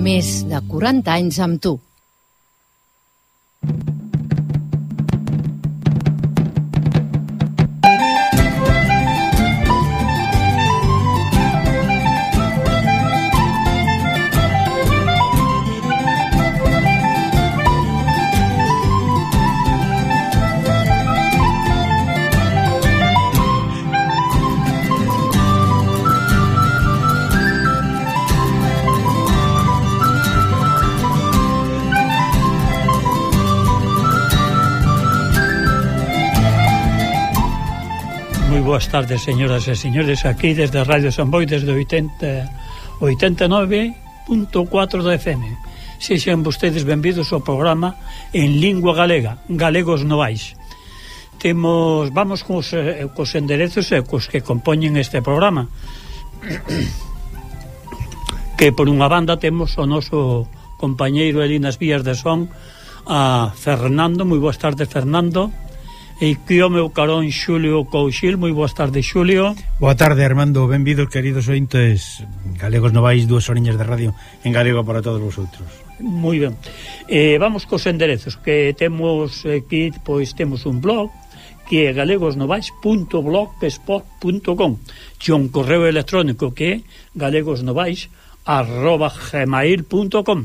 Més de 40 anys amb tu. Boas tardes, señoras e señores, aquí desde Radio San Boi, desde 89.4 da FM. Sexan vostedes benvidos ao programa en lingua galega, Galegos Novais. Vamos cos enderezos ecos que compoñen este programa, que por unha banda temos o noso compañeiro ali nas vías de son, a Fernando. Moi boas tardes, Fernando. E que o meu carón Xulio Couchil. Moi boas tardes, Xulio. Boa tarde, Armando. Benvidos, queridos ointes Galegos Novais, 2 horiñas de radio en galego para todos vosotros. Moi ben. Vamos cos enderezos que temos aquí. Pois temos un blog que é galegosnovais.blogspot.com e un correo electrónico que é galegosnovais@gmail.com.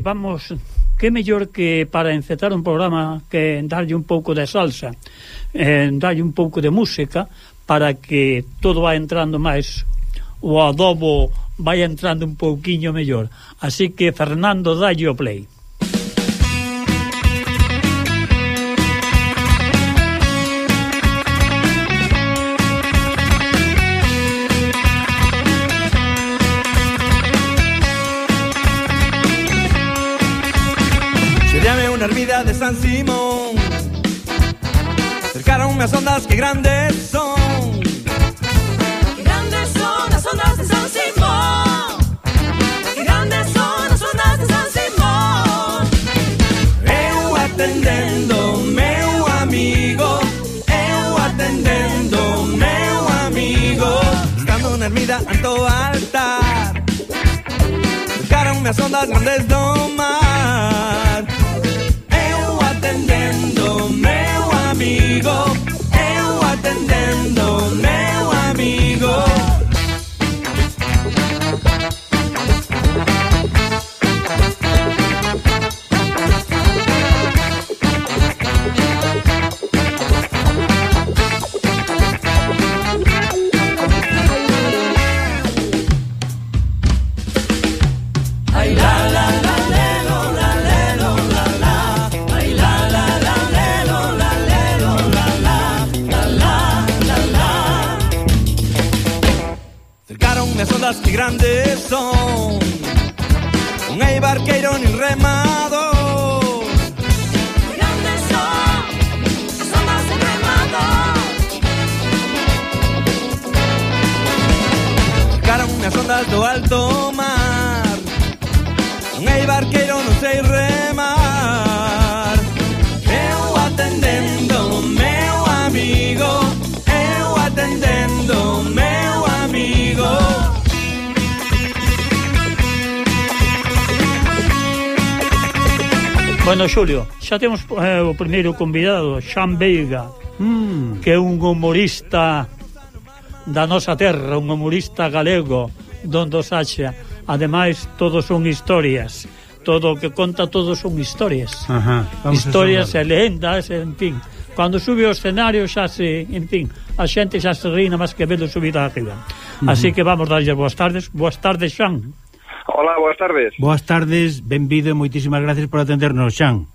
Vamos... Que mellor que para encetar un programa que darlle un pouco de salsa, darlle un pouco de música, para que todo vai entrando máis, o adobo vai entrando un pouquiño mellor. Así que, Fernando, dalle o play. Una ermida de San Simón, cercaronme as ondas que grandes son. Que grandes son as ondas de San Simón, que grandes son as ondas de San Simón. Eu atendendo meu amigo, eu atendendo meu amigo, estando na ermida ante o altar, cercaronme as ondas grandes do mar. Atendendo meu amigo, eu atendendo meu amigo. Ay, la la la lelo, la lelo, la la. Ay, la la la lelo, la lelo, la la, la la, la la. Cercaronme as ondas que grandes son, non hai barqueiro nin remado. Que grandes son as ondas de remado. Cercaronme as ondas do alto mar, non hai barqueiro, non sei remar. Eu atendendo meu amigo, eu atendendo meu amigo. Bueno, Xulio, xa temos o primeiro convidado, Xan Veiga, que é un humorista da nosa terra, un humorista galego, donde os haxa. Ademais, todos son historias. Todo o que conta, todos son historias. Historias e leyendas, en fin. Cando sube ao escenario xa se, en fin, a xente xa se ri nada máis que velo subida arriba. Así que vamos darlle boas tardes. Boas tardes, Xan. Hola, boas tardes. Boas tardes, benvido e moitísimas gracias por atendernos, Xan.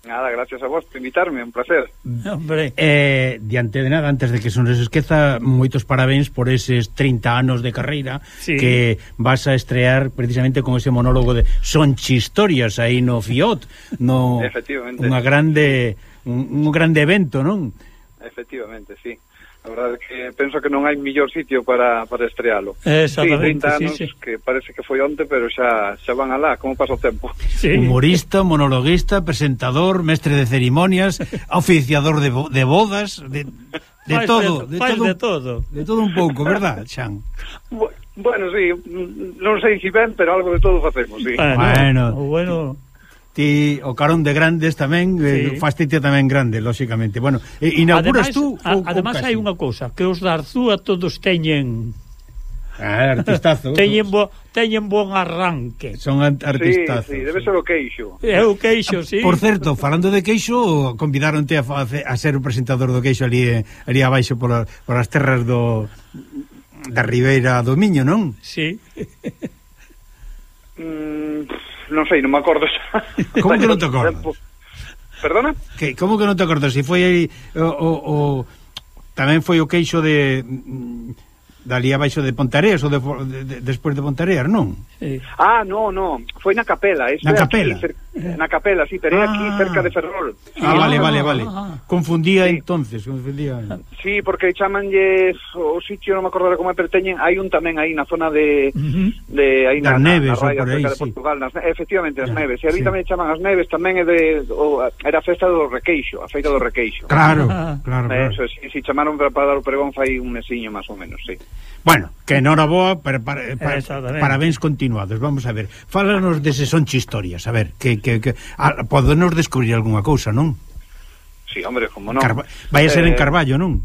Nada, gracias a vos por invitarme, un placer. Hombre. Diante de nada, antes de que se nos esqueza, moitos parabéns por eses 30 anos de carreira, sí, que vas a estrear precisamente con ese monólogo de Son Chistorias aí no Fiot, no efectivamente. un grande evento, non? Efectivamente, sí. A verdade é que penso que non hai mellor sitio para estrealo. Exactamente, 30 anos, sí. que parece que foi onte, pero xa van alá, como pasa o tempo. Sí. Humorista, monologuista, presentador, mestre de cerimonias, oficiador de bodas, De todo de todo un pouco, verdad, Xan? Bueno, sí, non sei se ben, pero algo de todo facemos, sí. Bueno, ti o carón de grandes tamén, fastite tamén grande, lóxicamente. Bueno, inauguras tú? Además hai unha cousa, que os da Arzúa todos teñen... artistazos. teñen bon arranque. Son artistazos. Sí, debe ser o queixo. É o queixo, sí. Por certo, falando de queixo, convidaronte a ser o presentador do queixo ali abaixo por as terras da Ribeira do Miño, non? Sí. Non sei, non me acordo. Como que non te acordas? Perdona? Como que non te acordas? Se foi aí tamén foi o queixo de dali abaixo de Pontareas ou despois de Pontareas, non? Sí. No, foi na Capela. Na Capela? Na Capela, sí, pero é aquí cerca de Ferrol. Vale. Confundía sí. Entonces. Sí, porque chamanlle o sitio, non me acordo como é, pero hai un tamén aí na zona de aí nas Neves, na raya, por aí, cerca de Portugal, efectivamente, as Neves. E ali tamén chaman as Neves, tamén é era a festa do Requeixo, a feita do Requeixo. Claro. Eso, sí, chamaron para dar o pregón fai un mesiño máis ou menos, sí. Bueno, que enhoraboa, parabéns continuados. Vamos a ver, fálanos dese Sonche Historias, a ver, que podenos descubrir algunha cousa, non? Sí, hombre, como non. Vai a ser en Carballo, non?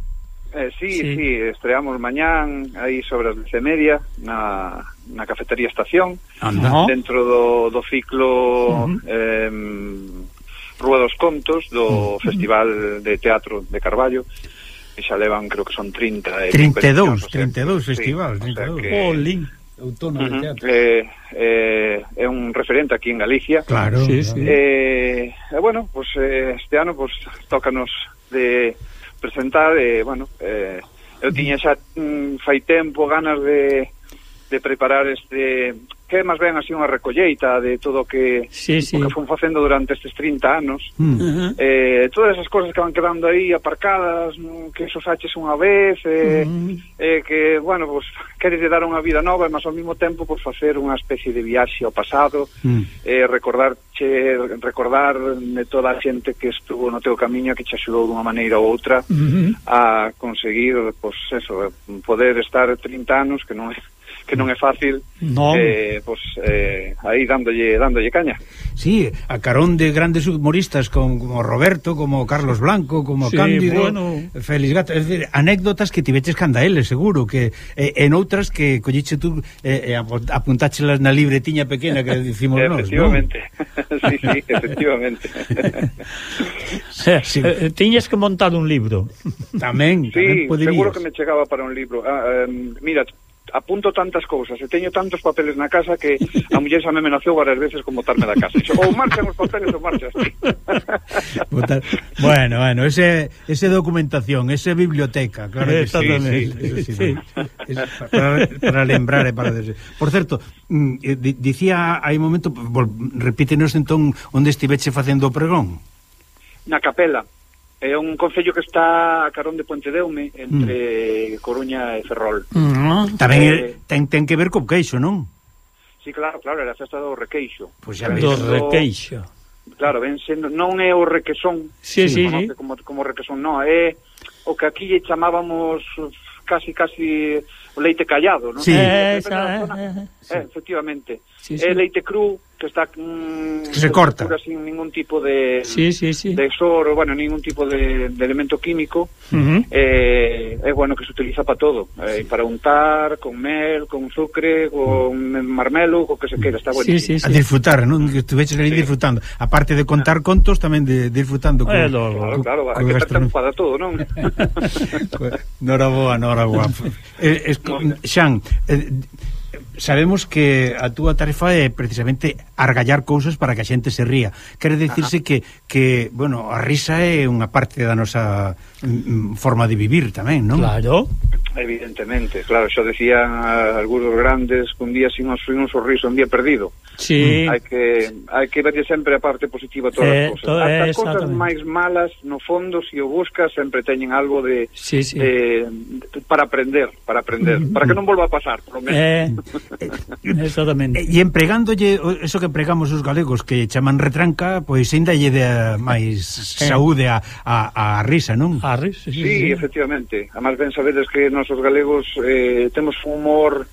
Sí, estreamos mañán aí sobre as 10:30 na cafetería Estación. Dentro do ciclo Rúa dos Contos do Festival de Teatro de Carballo, que xa levan, creo que son 32 festivales, 32. Outono de teatro. É un referente aquí en Galicia. Claro. Sí. Bueno, pues este ano pues tócanos de presentar, eu tiña xa fai tempo ganas de preparar que é máis ben así unha recolleita de todo o que fun facendo durante estes 30 anos. Todas esas cosas que van quedando aí aparcadas, que sosaches unha vez, que, bueno, pues, queres dar unha vida nova, mas ao mesmo tempo pues, facer unha especie de viaxe ao pasado, recordar de toda a xente que estuvo no teu camiño, que te axudou dunha maneira ou outra a conseguir, pues, eso, poder estar 30 anos, que non é fácil, aí dándolle caña. Sí, a carón de grandes humoristas como Roberto, como Carlos Blanco, como Cándido, Félix Gato, es decir, anécdotas que tiveches canda eles, seguro, que en outras que colliche tú apuntáchelas na libretiña pequena que dicimos nós, efectivamente, ¿no? sí, efectivamente. Tiñes que montar un libro. Tamén poderías. Seguro que me chegaba para un libro. Mira, apunto tantas cousas e teño tantos papeles na casa que a muller xa me amenazou varias veces con botarme da casa. Ou marchan os papeles ou marchas ti. Bueno, ese documentación, ese biblioteca, claro que sí. Para lembrar e para... Por certo, dicía hai un momento, repítenos entón onde estiveche facendo o pregón. Na Capela. É un concello que está a carón de Pontedeume, entre Coruña e Ferrol. Tamén ten que ver co queixo, non? Sí, claro, era a festa do Requeixo. Pois xa do Requeixo. Claro, ven sendo, non é o requesón, como requesón, non, é o que aquí lle chamábamos casi o leite callado, non? Sí. Efectivamente. É leite cru que está que se corta sin ningún tipo de de soro, bueno, ningún tipo de elemento químico. É bueno que se utiliza para todo, para untar, con mel, con sucre, con marmelo, co que se queira, está bueno. A disfrutar, non? Que estuveches ali disfrutando. Aparte de contar contos, tamén de disfrutando con claro, hai que estar para todo, non? Noraboa. Xan, sabemos que a túa tarefa é precisamente argallar cousas para que a xente se ría. Quere dicirse que, bueno, a risa é unha parte da nosa forma de vivir tamén, non? Claro. Evidentemente, claro, xa decían algunos grandes que un día sin un sorriso, un día perdido. Sí. Hai que ver sempre a parte positiva de todas as cousas. As cousas máis malas, no fondo, se o buscas, sempre teñen algo de para aprender, para que non volva a pasar, por lo menos. Exactamente. E empregándolle eso que empregamos os galegos que chaman retranca, pois ainda lle dá máis saúde a risa, non? A risa, sí, efectivamente. Además, ben sabedes que nosos galegos temos un humor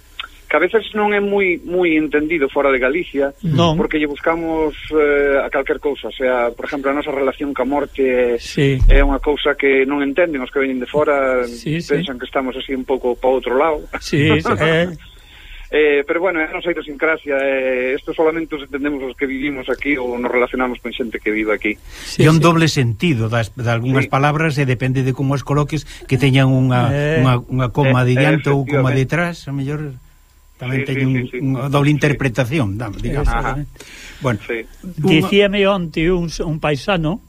que a veces non é moi entendido fora de Galicia, porque lle buscamos a calquer cousa, o sea, por exemplo, a nosa relación ca morte é unha cousa que non entenden os que veñen de fora, pensan que estamos así un pouco para outro lado. Pero bueno, é a nosa idiosincrasia, isto solamente os entendemos os que vivimos aquí ou nos relacionamos con xente que vive aquí. E un doble sentido de algunhas palabras, e depende de como as coloques, que teñan unha coma de diante ou coma detrás, a mellor tamén teñen unha doble interpretación, digamos. Bueno, dicíame onte un paisano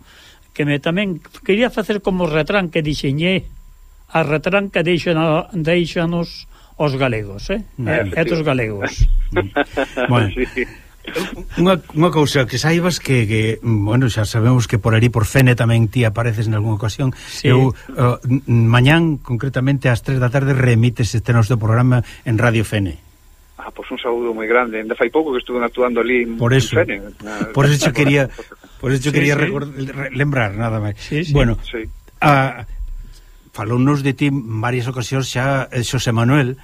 que me tamén quería facer como retranca, dixeñé a retranca deixanos os galegos, e os galegos. Bueno, unha cousa que saibas que bueno, xa sabemos que por ali por Fene tamén ti apareces en algunha ocasión. Eu mañán, concretamente ás 3 da tarde, remítes este noso programa en Radio Fene. Pois un saúdo moi grande. Ainda fai pouco que estuve actuando ali en Fene. Por eso quería lembrar, nada máis. Bueno, falounos de ti en varias ocasións xa Xosé Manuel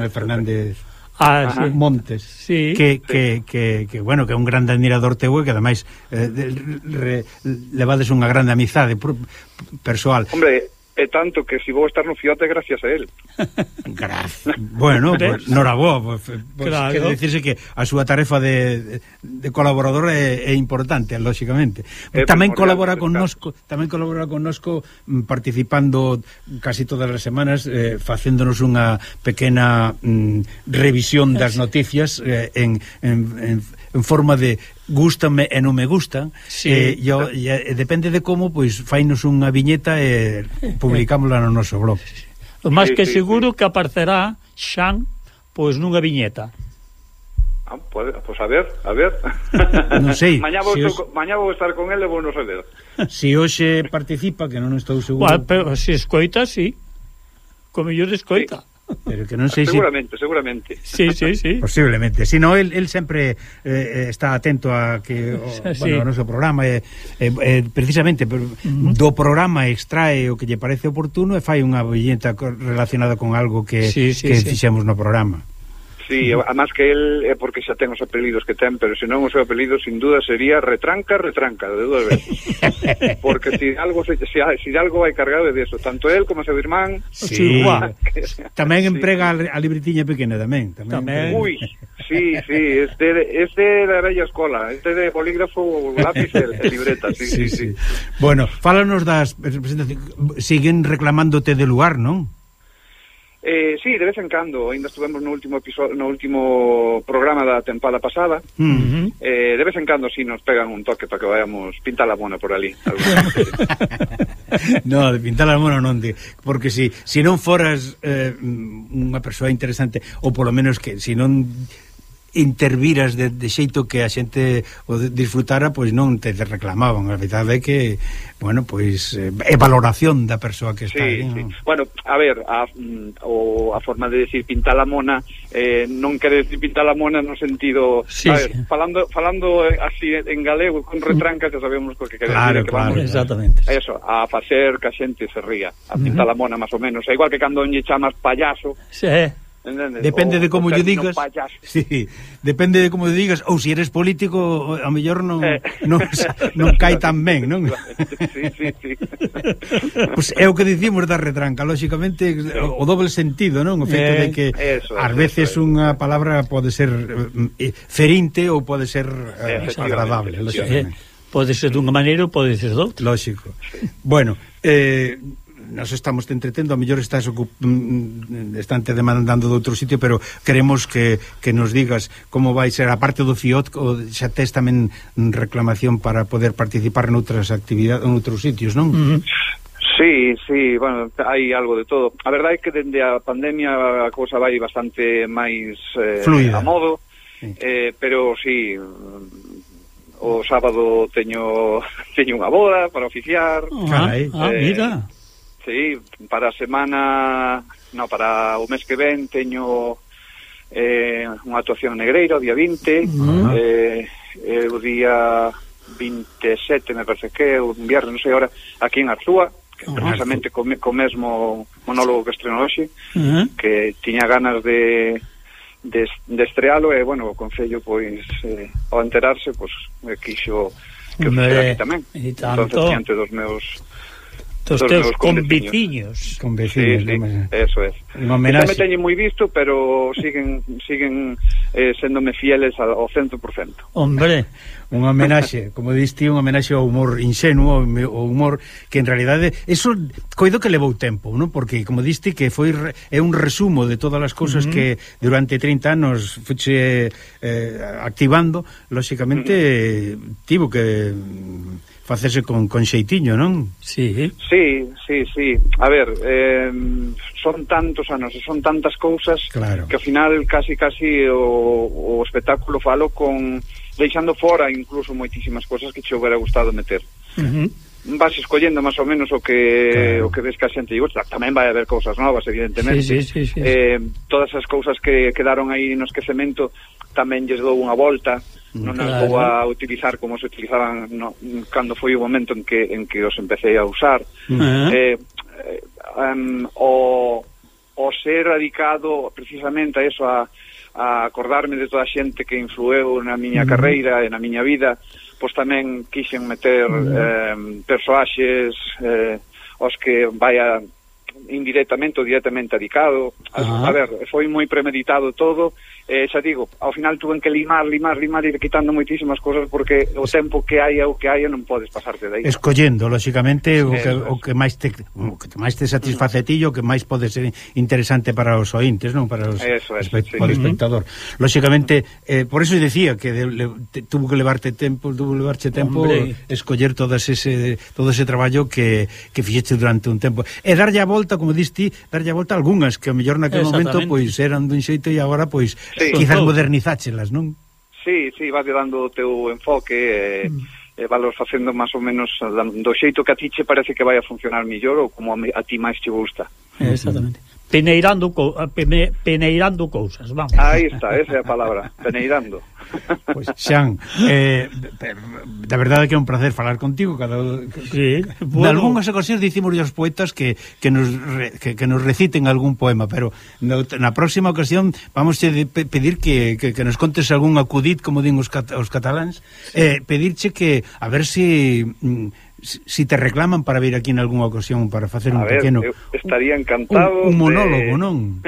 Fernández Montes, que bueno, que é un grande admirador teu e que ademais levades unha grande amizade persoal. Hombre, é tanto que si vou estar no Fiote gracias a él. Bueno, pues, noraboa, claro. Quer dicirse que a súa tarefa de colaborador é importante, lógicamente. Tamén colabora connosco, participando casi todas as semanas, facéndonos unha pequena revisión das noticias en forma de gústame e non me gustan, depende de como, pois fainos unha viñeta e publicámola no noso blog. O máis que seguro que aparecerá Xan pois nunha viñeta. Pois a ver. Non sei. Mañá vou estar con ele e vou non saber. Si hoxe participa, que non estou seguro. Pero se escoita, sí. Como yo escoita. Pero que non sei seguramente. Sí. Posiblemente. Si no, él sempre está atento a que o noso programa precisamente do programa extrae o que lle parece oportuno e fai unha viñeta relacionada con algo que fixemos no programa. Sí, además que él é porque xa ten os apelidos que ten, pero se non o seu apelido sin duda sería retranca, de duas veces. Porque si algo vai cargado de eso, tanto él como seu irmán. Sí. Tamén emprega a libretiña pequena tamén. Uy, sí, este da bella escola, este de bolígrafo, lápiz e libreta, sí. Bueno, fálanos das presentacións. Siguen reclamándote de lugar, non? Sí, de vez en cando. Ainda estuvemos no último programa da tempada pasada. De vez en cando si nos pegan un toque para que vayamos pintar la mona por ali. No, de pintar la mona non, porque si non foras unha persoa interesante, ou polo menos que si non interviras de xeito que a xente o disfrutara, pois non te reclamaban. A verdade é que, bueno, pois é valoración da persoa que está aí, sí. Bueno, a ver, a forma de decir pintar la mona non quere decir pintar la mona no sentido, falando así en galego con retranca, xa sabemos o que quere decir, que vamos, exactamente. Eso, a facer que a xente se ría, a pintar la mona máis ou menos, é igual que cando lle chamas payaso. Depende de como lle digas. Sí, depende de como lle digas, ou se eres político, a mellor non cai tan ben, non? Sí. Pois é o que dicimos da retranca, lógicamente o doble sentido, non? O feito de que ás veces unha palabra pode ser ferinte ou pode ser agradable, lógicamente. Pode ser dunha maneira ou pode ser doutra. Lógico. Bueno, nos estamos te entretendo, a mellor estás estante demandando de outro sitio, pero queremos que nos digas como vai ser a parte do FIOT, ou xa tes tamén reclamación para poder participar noutras actividades, noutros sitios, non? Sí, bueno, hai algo de todo. A verdade é que dende a pandemia a cousa vai bastante máis fluida, a modo, sí. Pero sí, o sábado teño unha boda para oficiar. Carai. Mira. Sí, para a semana, para o mes que ven teño unha actuación negreira o día 20, o día 27 me parece que é un viernes, non sei ahora, aquí en Arzúa, que precisamente co mesmo monólogo que estrenou hoxe, que tiña ganas de estrealo, e, bueno, o Concello, pois, ao enterarse, pois, quixo que o fixera aquí tamén. Entonces, diante dos meus conveciños. Conveciños, sí, eso es. Unha homenaxe. Me teñen moi visto, pero siguen séndome fieles ao 100%. Hombre, unha homenaxe, como diste, unha homenaxe ao humor ingenuo, ao humor que en realidade eso coido que levou tempo, non? Porque como diste que é un resumo de todas as cousas que durante 30 anos fuche activando, lóxicamente tivo que facerse con xeitiño, non? Sí. A ver, son tantos anos, son tantas cousas, claro, que ao final casi o espectáculo falo deixando fora incluso moitísimas cousas que che houbera gustado meter. Vas escollendo máis ou menos o que ves que a xente gusta. Tamén vai haber cousas novas, evidentemente. Sí. Todas as cousas que quedaron aí no esquecemento tamén lles dou unha volta. Non as vou a utilizar como se utilizaban cando foi o momento en que os empecé a usar. O ser dedicado precisamente a eso, a acordarme de toda a xente que influeu na miña carreira e na miña vida, pois tamén quixen meter persoaxes aos que vaya indirectamente ou directamente dedicado. A ver, foi moi premeditado todo. Xa digo, ao final tuven que limar ir quitando moitísimas cousas, porque o tempo que hai non podes pasarte de aí. Escollendo, lóxicamente, o que máis te satisface ti, o que máis pode ser interesante para os ointes, non? Para os espectador. Lóxicamente, por eso decía que tuvo que levarche tempo escoller todo ese traballo que fixeche durante un tempo. E darlle a volta, como diste, algunhas que a mellor naquele momento pois eran dun xeito e agora pois quizás modernizáchelas, non? Sí, vas dando o teu enfoque e valos facendo máis ou menos do xeito que a ti che parece que vai a funcionar mellor ou como a ti máis te gusta. Exactamente. Peneirando cousas, vamos. Aí está, esa é a palabra, peneirando. Pois, Xan, da verdade que é un placer falar contigo. Sí, bueno. En algunhas ocasións dicimos aos poetas que nos reciten algún poema, pero na próxima ocasión vamos a pedir que nos contes algún acudit, como din os cataláns, pedirche que a ver si te reclaman para vir aquí en algunha ocasión para facer un pequeno... estaría encantado... Un monólogo, non?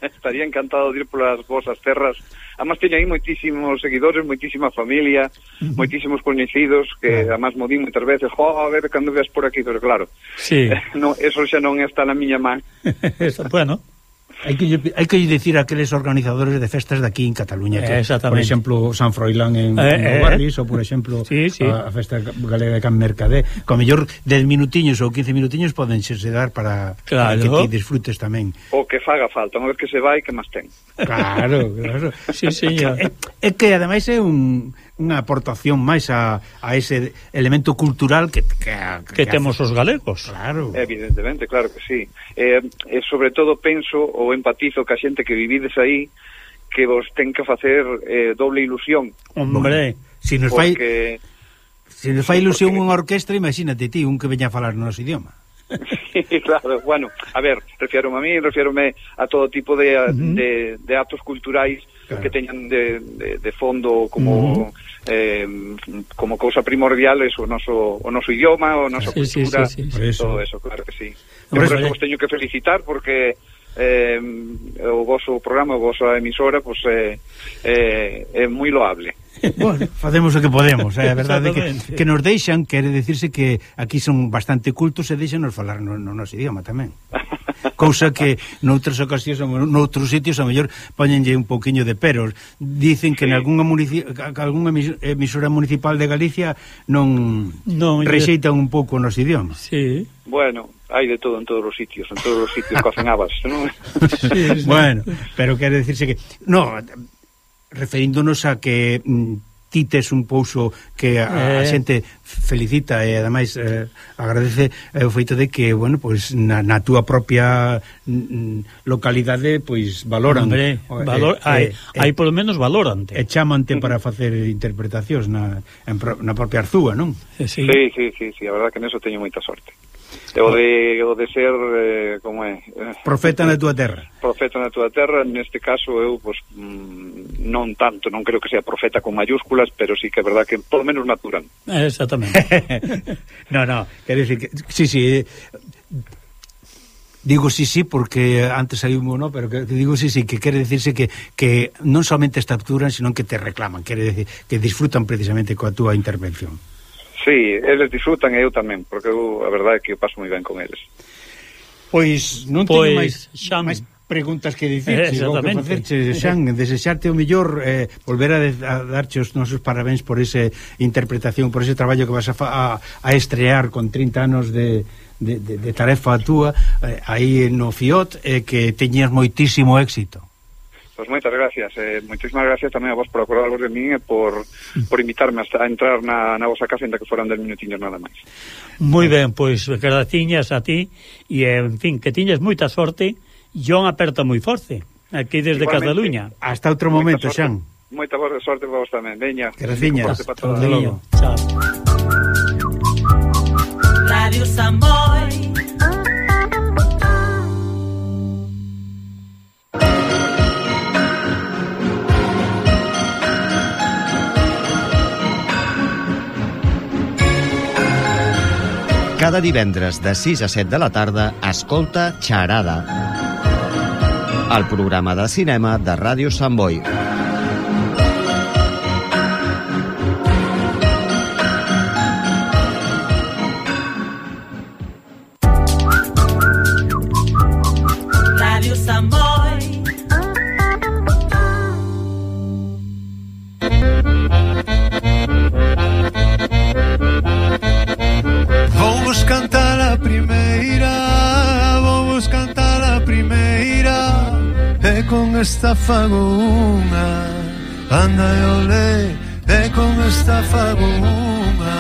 Estaría encantado de ir polas vosas terras. Además, teño aí moitísimos seguidores, moitísima familia, moitísimos coñecidos, que además mo din moitas veces, a ver, cando veas por aquí, pero claro, eso xa non está na miña man. Bueno... Hai que dicir a aqueles organizadores de festas de aquí en Cataluña, que, por exemplo, San Froilán en Barris, ou por exemplo a festa galega de Can Mercadé, con mellor 10 minutiños ou 15 minutiños poden se dar para que ti disfrutes tamén. O que faga falta, unha vez que se vai, que máis ten. Claro. Sí, señor. É que ademais é unha aportación máis a ese elemento cultural que temos os galegos. Claro. Evidentemente, claro que sí. E sobre todo penso ou empatizo ca xente que vivides aí, que vos ten que facer doble ilusión. Hombre, se nos fai ilusión unha orquestra, imagínate ti, un que veña a falar no noso idioma. Sí, claro, bueno, a ver, refiérome a todo tipo de actos culturais que teñan de fondo como cousa primordial o noso idioma, o nosa cultura, todo eso, claro que sí. Por eso vos teño que felicitar, porque o vosso programa, a vosa emisora, pues, é moi loable. Bueno, facemos o que podemos, a verdade que nos deixan, quere dicirse que aquí son bastante cultos e deixanos falar no noso idioma tamén. Cousa que noutras ocasións, noutros sitios, a mellor poñenlle un pouquiño de peros. Dicen que en algunha emisora municipal de Galicia non rexeitan un pouco o noso idioma. Sí. Bueno, hai de todo en todos os sitios cocen habas, non? Sí. Bueno, pero quere decirse que no, referíndonos a que ti tes un pouso que a xente felicita e ademais agradece o feito de que, bueno, pois na túa propia localidade pois valoran. Hombre, hai polo menos valorante. E chamante para facer interpretacións na propia Arzúa, non? Sí, a verdad que neso teño moita sorte. O de ser como é? Profeta na túa terra. Profeta na túa terra, neste caso eu pois non tanto, non creo que sea profeta con mayúsculas, pero sí que é verdad que polo menos natural. Exactamente. No, quero dicir que sí, digo sí porque antes hai un no, pero que digo sí, que quere decirse que non somente capturan, sino que te reclaman, quere decir que disfrutan precisamente coa túa intervención. Sí, eles disfrutan e eu tamén, porque eu, a verdade é que eu paso moi ben con eles. Pois non teño máis preguntas que dicir, Xan, desexarte o mellor, volver a darche os nosos parabéns por esa interpretación, por ese traballo que vas a estrear con 30 anos de tarefa túa aí no FIOT, que teñas moitísimo éxito. Pois moitas gracias, moitísimas gracias tamén a vos por acordarvos de min e por invitarme a entrar na vosa casa, ainda que foran 10 minutiños nada máis. Moi ben, pois graciñas a ti e, en fin, que tiñas moita sorte e un aperta moi forte aquí desde Cataluña. Hasta outro momento, Xan. Moita sorte para vos tamén, veña. Graciñas. Hasta logo. Chao. Radio Samboy. Cada divendres de 6 a 7 de la tarda escolta Xarada, el programa de cinema de Ràdio Sant Boi. Radio Sant Boi. Vamos cantar a primeira, e con esta fago unha, anda e olé, e con esta fago unha.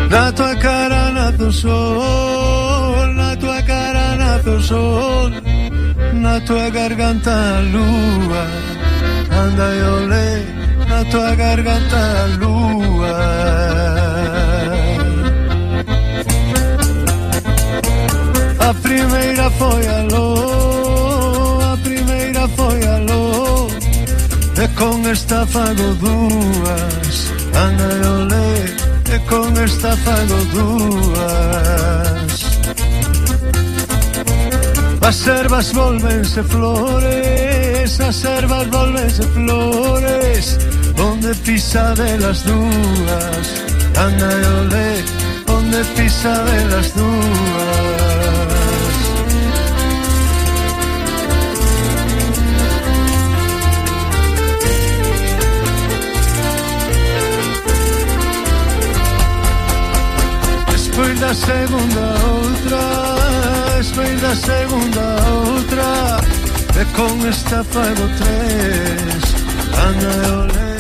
Na tua cara nace o sol, na tua cara nace o sol, na tua garganta a lúa, anda e olé, na tua garganta a lúa. A primeira foi aló, e con esta fago dúas, anda e olé, e con esta fago dúas. As ervas volvense flores, as ervas volvense flores, onde pisa de las dúas, anda e olé, onde pisa de las dúas. Despois da segunda outra, e con esta fago tres, anda e olé.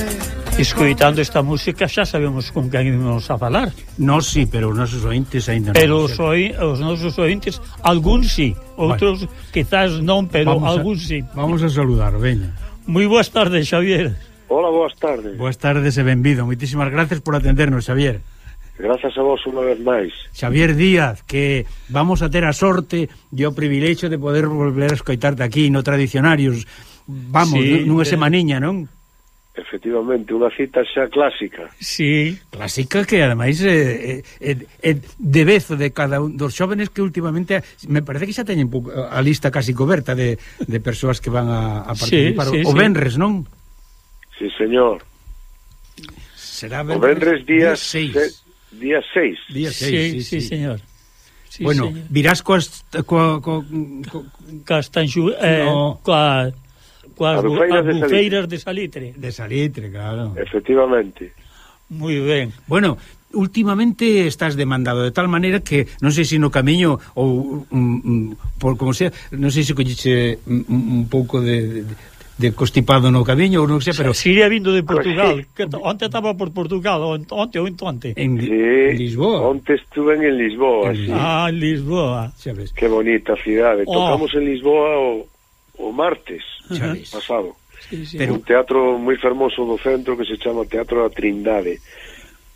Escoitando esta música xa sabemos con quen íbamos a falar. No, sí, pero os nosos ointes ainda non. Pero os nosos ointes, algúns sí, outros quizás non, pero algúns sí. Vamos a saludar, veña. Moi boas tardes, Xavier. Hola, boas tardes. Boas tardes e benvido. Moitísimas gracias por atendernos, Xavier. Grazas a vos unha vez máis. Xavier Díaz, que vamos a ter a sorte e o privilexio de poder volver a escoitarte aquí no Tradicionarios. Vamos, sí, nunha semaniña, non? Efectivamente, unha cita xa clásica. Sí. Clásica que, ademais, é de vezo de cada un dos xóvenes que últimamente, me parece que xa teñen a lista casi coberta de persoas que van a participar. Sí, o venres, non? Sí, señor. Será o venres día 6. Día 6. Día 6, sí, señor. Sí, bueno, señor. Virás coas albufeiras de Salitre. De Salitre, claro. Efectivamente. Moi ben. Bueno, últimamente estás demandado de tal maneira que non sei se no camiño ou por como sea, non sei se colliche un pouco de constipado no camiño ou non sei, pero Siria vindo de Portugal, que onte estaba por Portugal, onte ou entonte. En Lisboa. Onte estuve en Lisboa, sí. Ah, en Lisboa. Sabes? Qué bonita cidade. Tocamos en Lisboa o martes pasado. Sí, sí. Pero un teatro moi fermoso do centro que se chama Teatro da Trindade.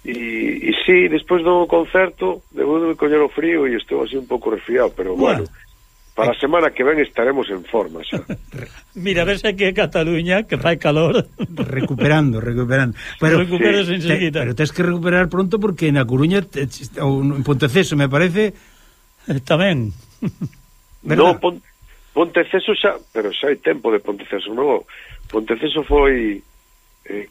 E sí, despois do concerto debo de coller o frío e estou así un pouco resfriado, pero bueno, para a semana que ven estaremos en forma xa. Mira, a ver se aquí en Cataluña que fai calor. recuperando. Pero Recuperas enseguida. pero tens que recuperar pronto porque na Coruña ou en Ponteceso, me parece, Tamén. No, Ponteceso xa, pero xa hai tempo de Ponteceso, non? Ponteceso foi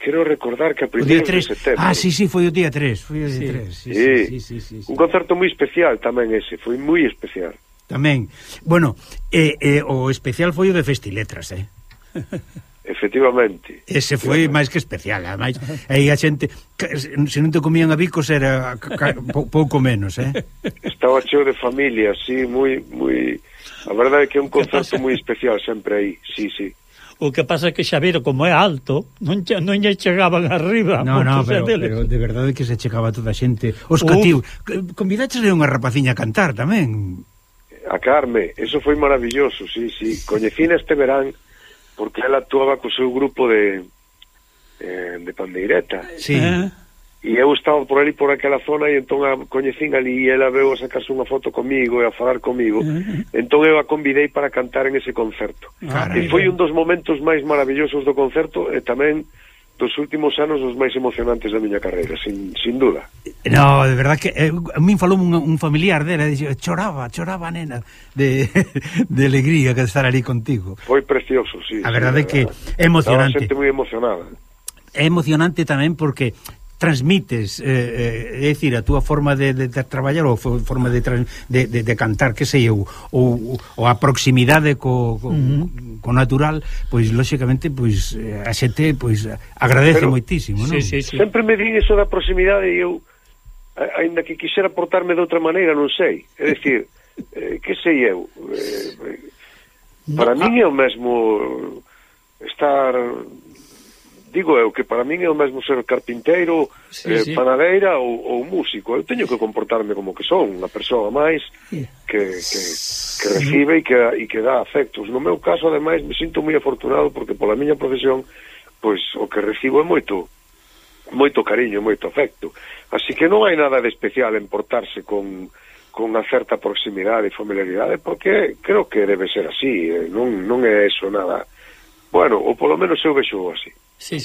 quero recordar que a primeiros de setembro. Ah, sí, foi o día 3, foi o día 3. Sí. Un concerto moi especial tamén ese, foi moi especial. Tamén. Bueno, o especial foi o de Festiletras, Efectivamente. Ese foi máis que especial, ademais. Aí a xente, se non te comían a bicos era pouco menos, Estaba cheo de familia, sí, moi... A verdade é que é un concerto moi especial sempre aí, sí. O que pasa é que Xavier, como é alto, non lle chegaban arriba. No, pero de verdade que se chegaba toda a xente. Os cativos. Convidaches a unha rapaciña a cantar tamén. A Carme, eso foi maravilloso, sí. Coñecina este verán porque ela actuaba co seu grupo de pandeireta. Sí. E eu estaba por ali, por aquela zona, e entón a coñecín ali e ela veu a sacarse unha foto comigo e a falar comigo. Entón eu a convidei para cantar en ese concerto. E foi un dos momentos máis maravillosos do concerto e tamén dos últimos anos os máis emocionantes da miña carreira, sin duda. No, de verdad que a min falou un familiar dela, choraba nena de alegría que estar ali contigo. Foi precioso, sí. A verdade é que é emocionante. Estaba xente moi emocionada. É emocionante tamén porque transmites, é dicir, a túa forma de traballar ou forma de cantar, que sei eu, ou a proximidade co natural, pois lóxicamente pois a xente pois agradece moitísimo, non? Sí. Sempre me din eso da proximidade e eu aínda que quixera portarme de outra maneira, non sei. É dicir, que sei eu? Para min é o mesmo estar... Digo eu que para min é o mesmo ser carpinteiro, panadeira ou músico. Eu teño que comportarme como que son, unha persoa máis que recibe e que dá afectos. No meu caso, ademais, me sinto moi afortunado porque pola miña profesión, pois o que recibo é moito cariño, moito afecto. Así que non hai nada de especial en portarse con unha certa proximidade e familiaridade, porque creo que debe ser así, non é eso nada. Bueno, ou polo menos eu vexo así. Sí.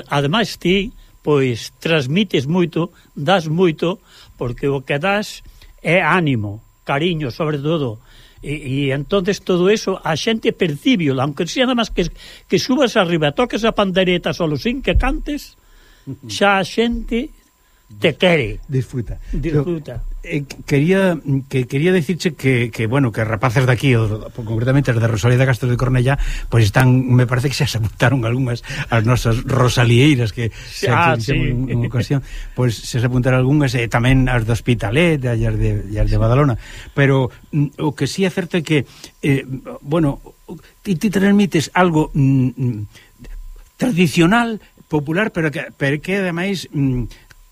Ademais ti, pois, transmites moito, das moito, porque o que das é ánimo, cariño, sobre todo. E entonces todo eso a xente percibio, aunque sea nada máis que subas arriba, toques a pandereta solo sin que cantes, xa a xente te quere. Disfruta. Quería decirche que bueno, que rapaces de aquí, concretamente as de Rosalía de Castro de Cornellá, pois están, me parece que xa se apuntaron algunhas as nosas rosalieiras que en ocasión, pois se apuntaron algunhas, e tamén as de Hospitalet e as de Badalona, pero o que sí é certo é que bueno, ti transmites algo tradicional, popular, pero que ademais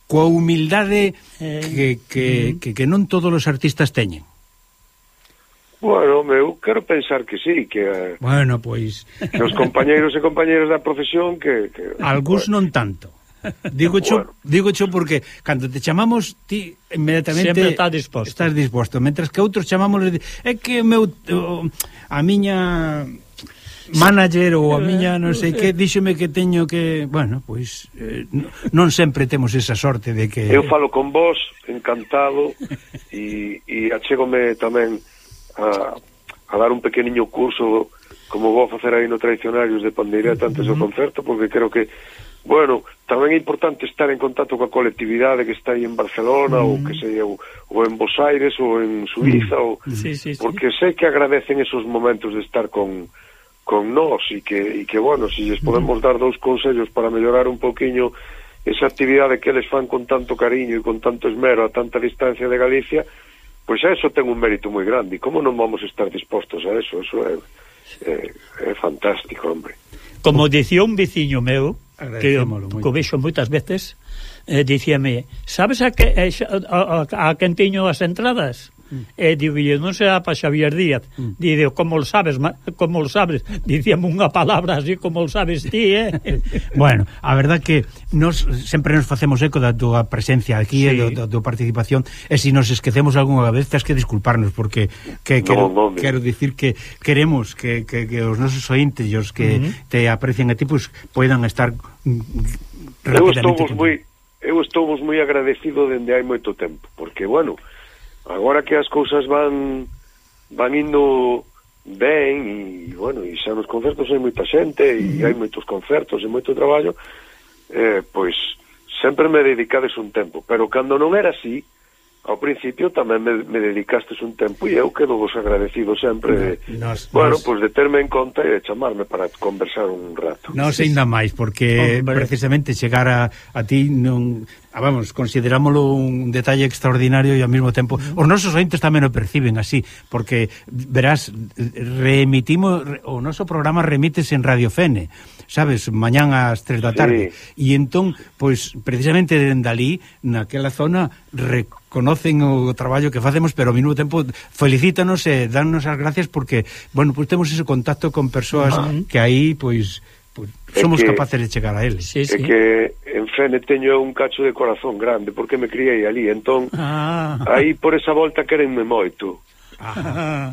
coa humildade que non todos os artistas teñen. Bueno, eu quero pensar que sí, que bueno, pois que os compañeiros e compañeras da profesión que algúns non tanto. Digo cho porque cando te chamamos ti inmediatamente sempre estás disposto, mentras que outros chamamos é que a miña manager ou a miña non sei que díxome que teño que, bueno, pois non sempre temos esa sorte de que eu falo con vos encantado e achégome tamén a dar un pequeniño curso como vou a facer aí no Tradicionarios de Pandeireta antes do concerto, porque creo que bueno, tamén é importante estar en contacto coa colectividade que está aí en Barcelona ou que sei ou en Buenos Aires ou en Suiza porque sei que agradecen esos momentos de estar con nós e que bueno, se lles podemos dar dous consellos para mellorar un poquinho esa actividade que eles fan con tanto cariño e con tanto esmero a tanta distancia de Galicia, pois eso ten un mérito moi grande. E como non vamos estar dispostos a eso? Eso é fantástico, hombre. Como dicía un veciño meu, que o vexo moitas veces, dicíame, sabes a quen tiño as entradas? E digo, non será para Xavier Díaz. Digo, como lo sabes? Dicíame unha palabra así, como lo sabes ti, Bueno, a verdad que nos sempre nos facemos eco da túa presencia aquí, e da túa participación, e se nos esquecemos algunha vez tens que disculparnos, porque quero dicir que queremos que os nosos ointes, os que te aprecian a ti, pues poidan estar rápidamente. Eu estou moi agradecido dende hai moito tempo, porque, bueno, agora que as cousas van indo ben, e, bueno, e xa nos concertos hai moita xente, e hai moitos concertos e moito traballo, pois sempre me dedicades un tempo, pero cando non era así, ao principio tamén me dedicastes un tempo, e eu quedo vos agradecido sempre pois de terme en conta e de chamarme para conversar un rato. Non sei nada máis, porque precisamente chegar a ti non... vamos, considerámoslo un detalle extraordinario e ao mesmo tempo os nosos ointes tamén o perciben así, porque verás, reemitimos o noso programa remites en Radio Fene, sabes, mañán ás 3 da tarde, e entón, pois, precisamente dende ali, naquela zona, reconocen o traballo que facemos, pero ao mesmo tempo felicítanos e dannos as gracias porque, bueno, pois temos ese contacto con persoas que aí, pois somos capaces de chegar a eles. É que en Fene teño un cacho de corazón grande, porque me criei ali, entón aí por esa volta querenme moito.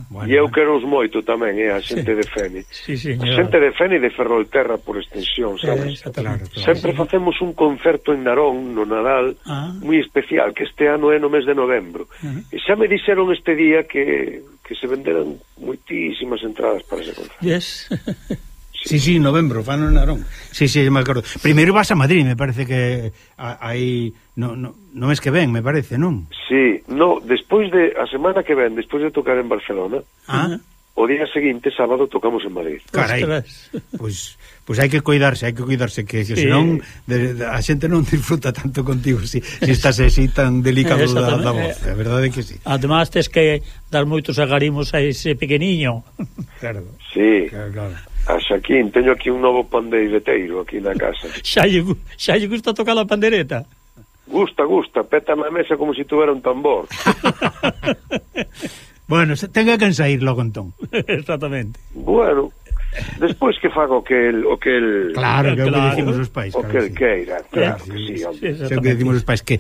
Bueno, e eu quero os moito tamén, a xente de Fene. A xente de Fene e de Ferrolterra por extensión, sabes? Claro. Sempre facemos un concerto en Narón no Nadal moi especial, que este ano é no mes de novembro. E xa me dixeron este día que se venderan moitísimas entradas para ese concerto. Sí, novembro, fano en Narón. Sí, me acordo. Primeiro vas a Madrid, me parece que aí no mes que ven, me parece, non? Sí, despois a semana que ven, despois de tocar en Barcelona, o día seguinte, sábado, tocamos en Madrid. Carai, pois hai que cuidarse, que senón a xente non disfruta tanto contigo si estás así tan delicado da voz, a verdade é que sí. Además, tes que dar moitos agarimos a ese pequeniño. Claro. Sí, claro. A Xaquín, teño aquí un novo pandeireteiro aquí na casa. Xa lle gusta tocar a pandereta? Gusta, peta na mesa como se tuvera un tambor. Bueno, tenga que ensair logo entón. Exactamente. Bueno, despois que faga o que el claro, que é o que decimos os pais, o que el queira, claro que sí, hombre. É o que decimos os pais, que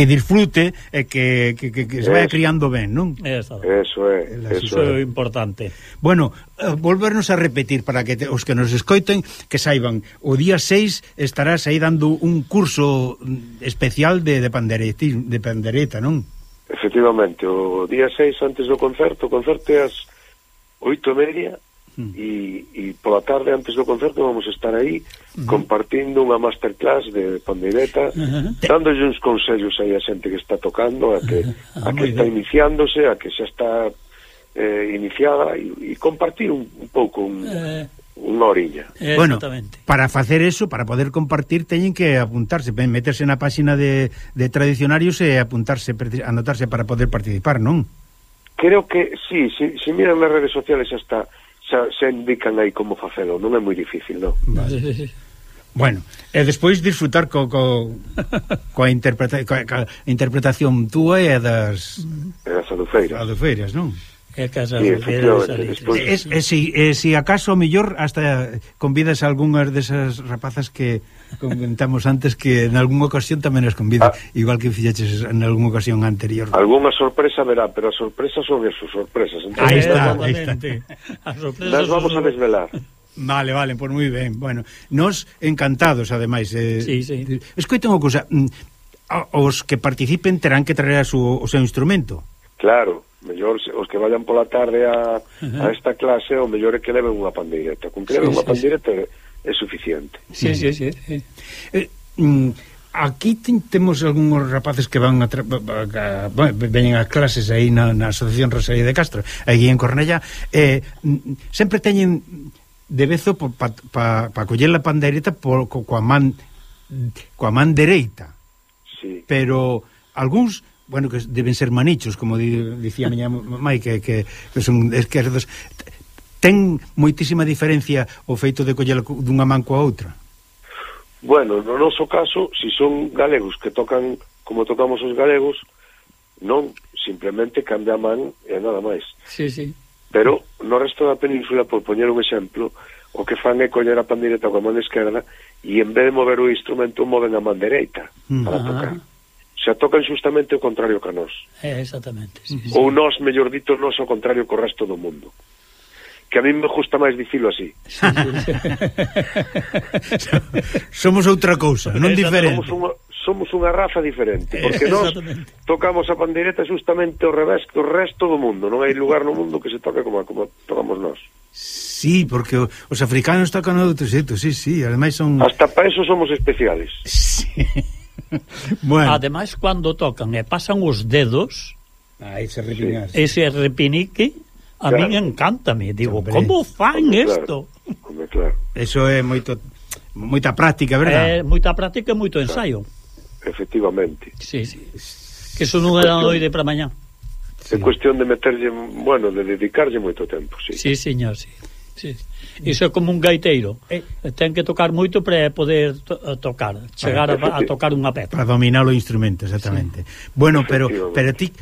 disfrute e que se vaya criando ben, non? Eso é importante. Bueno, volvernos a repetir para que os que nos escoiten que saiban, o día 6 estarás aí dando un curso especial de pandereta, non? Efectivamente, o día 6 antes do concerto, o concerto é ás 8:30 e pola tarde antes do concerto vamos estar aí compartindo unha masterclass de pandeireta, dándolle uns consellos aí a xente que está tocando, a que está iniciándose, a que xa está iniciada, e compartir un pouco unha oriña. Bueno, para facer eso, para poder compartir, teñen que apuntarse, meterse na páxina de Tradicionarios e anotarse para poder participar, non? Creo que sí, se miran nas redes sociales xa indican aí como facelo, non é moi difícil, non? Vale. Bueno, e despois disfrutar coa interpretación túa e das adufeiras, non? É casa si acaso mellor hasta convidas a algunhas desas rapazas que comentamos antes, que en algunha ocasión tamén as convida, igual que fixeches en algunha ocasión anterior. Algunha sorpresa verá, pero as sorpresas son esas sorpresas. Aí está. As sorpresas nas vamos a desvelar. Vale, pois moi ben. Bueno, nos encantados, ademais. Sí. Escoita unha cousa, os que participen terán que traer o seu instrumento. Claro, mellor os que vayan pola tarde a esta clase, o mellor é que leven unha pandeireta. Con que leven unha pandeireta é suficiente. Sí. Aquí temos algúns rapaces que van veñen a clases aí na Asociación Rosalía de Castro, aí en Cornellá, sempre teñen de vezo para coller a pandeireta coa man coa man dereita. Sí. Pero algúns, bueno, que deben ser manichos, como dicía a miña mai, que son esquerdos. Ten moitísima diferencia o feito de coller dunha man coa outra? Bueno, no noso caso, si son galegos que tocan como tocamos os galegos, non, simplemente cambia a man e nada máis. Sí, sí. Pero no resto da península, por poñer un exemplo, o que fan é coller a pandeireta coa man esquerda e en vez de mover o instrumento, moven a man dereita para tocar. O sea, tocan justamente o contrario que a nós. Exactamente. Sí, sí. Ou nós, mellor dito, nós ao contrario co resto do mundo. Que a mí me gusta máis dicilo así. Sí, sí. Somos outra cousa, non diferente. Somos unha raza diferente, porque nós tocamos a pandeireta justamente ao revés que o resto do mundo. Non hai lugar no mundo que se toque como tocamos nós. Sí, porque os africanos tocan outro xeito, sí, ademais son... Hasta para eso somos especiales. Sí. Bueno. Ademais, cando tocan e pasan os dedos, ese repinique, ese repinique, a claro. Mí encántame. Digo, como fan isto? Claro. Eso é moita práctica, verdad? Moita práctica e moito ensaio. Efectivamente. Sí. Que eso non era noite para mañá. É cuestión de meterlle, bueno, de dedicarlle moito tempo, sí. Sí, señor, sí. Iso é como un gaiteiro. Ten que tocar moito para poder tocar, chegar a tocar unha peza. Para dominar o instrumento, exactamente. Sí. Bueno, pero ti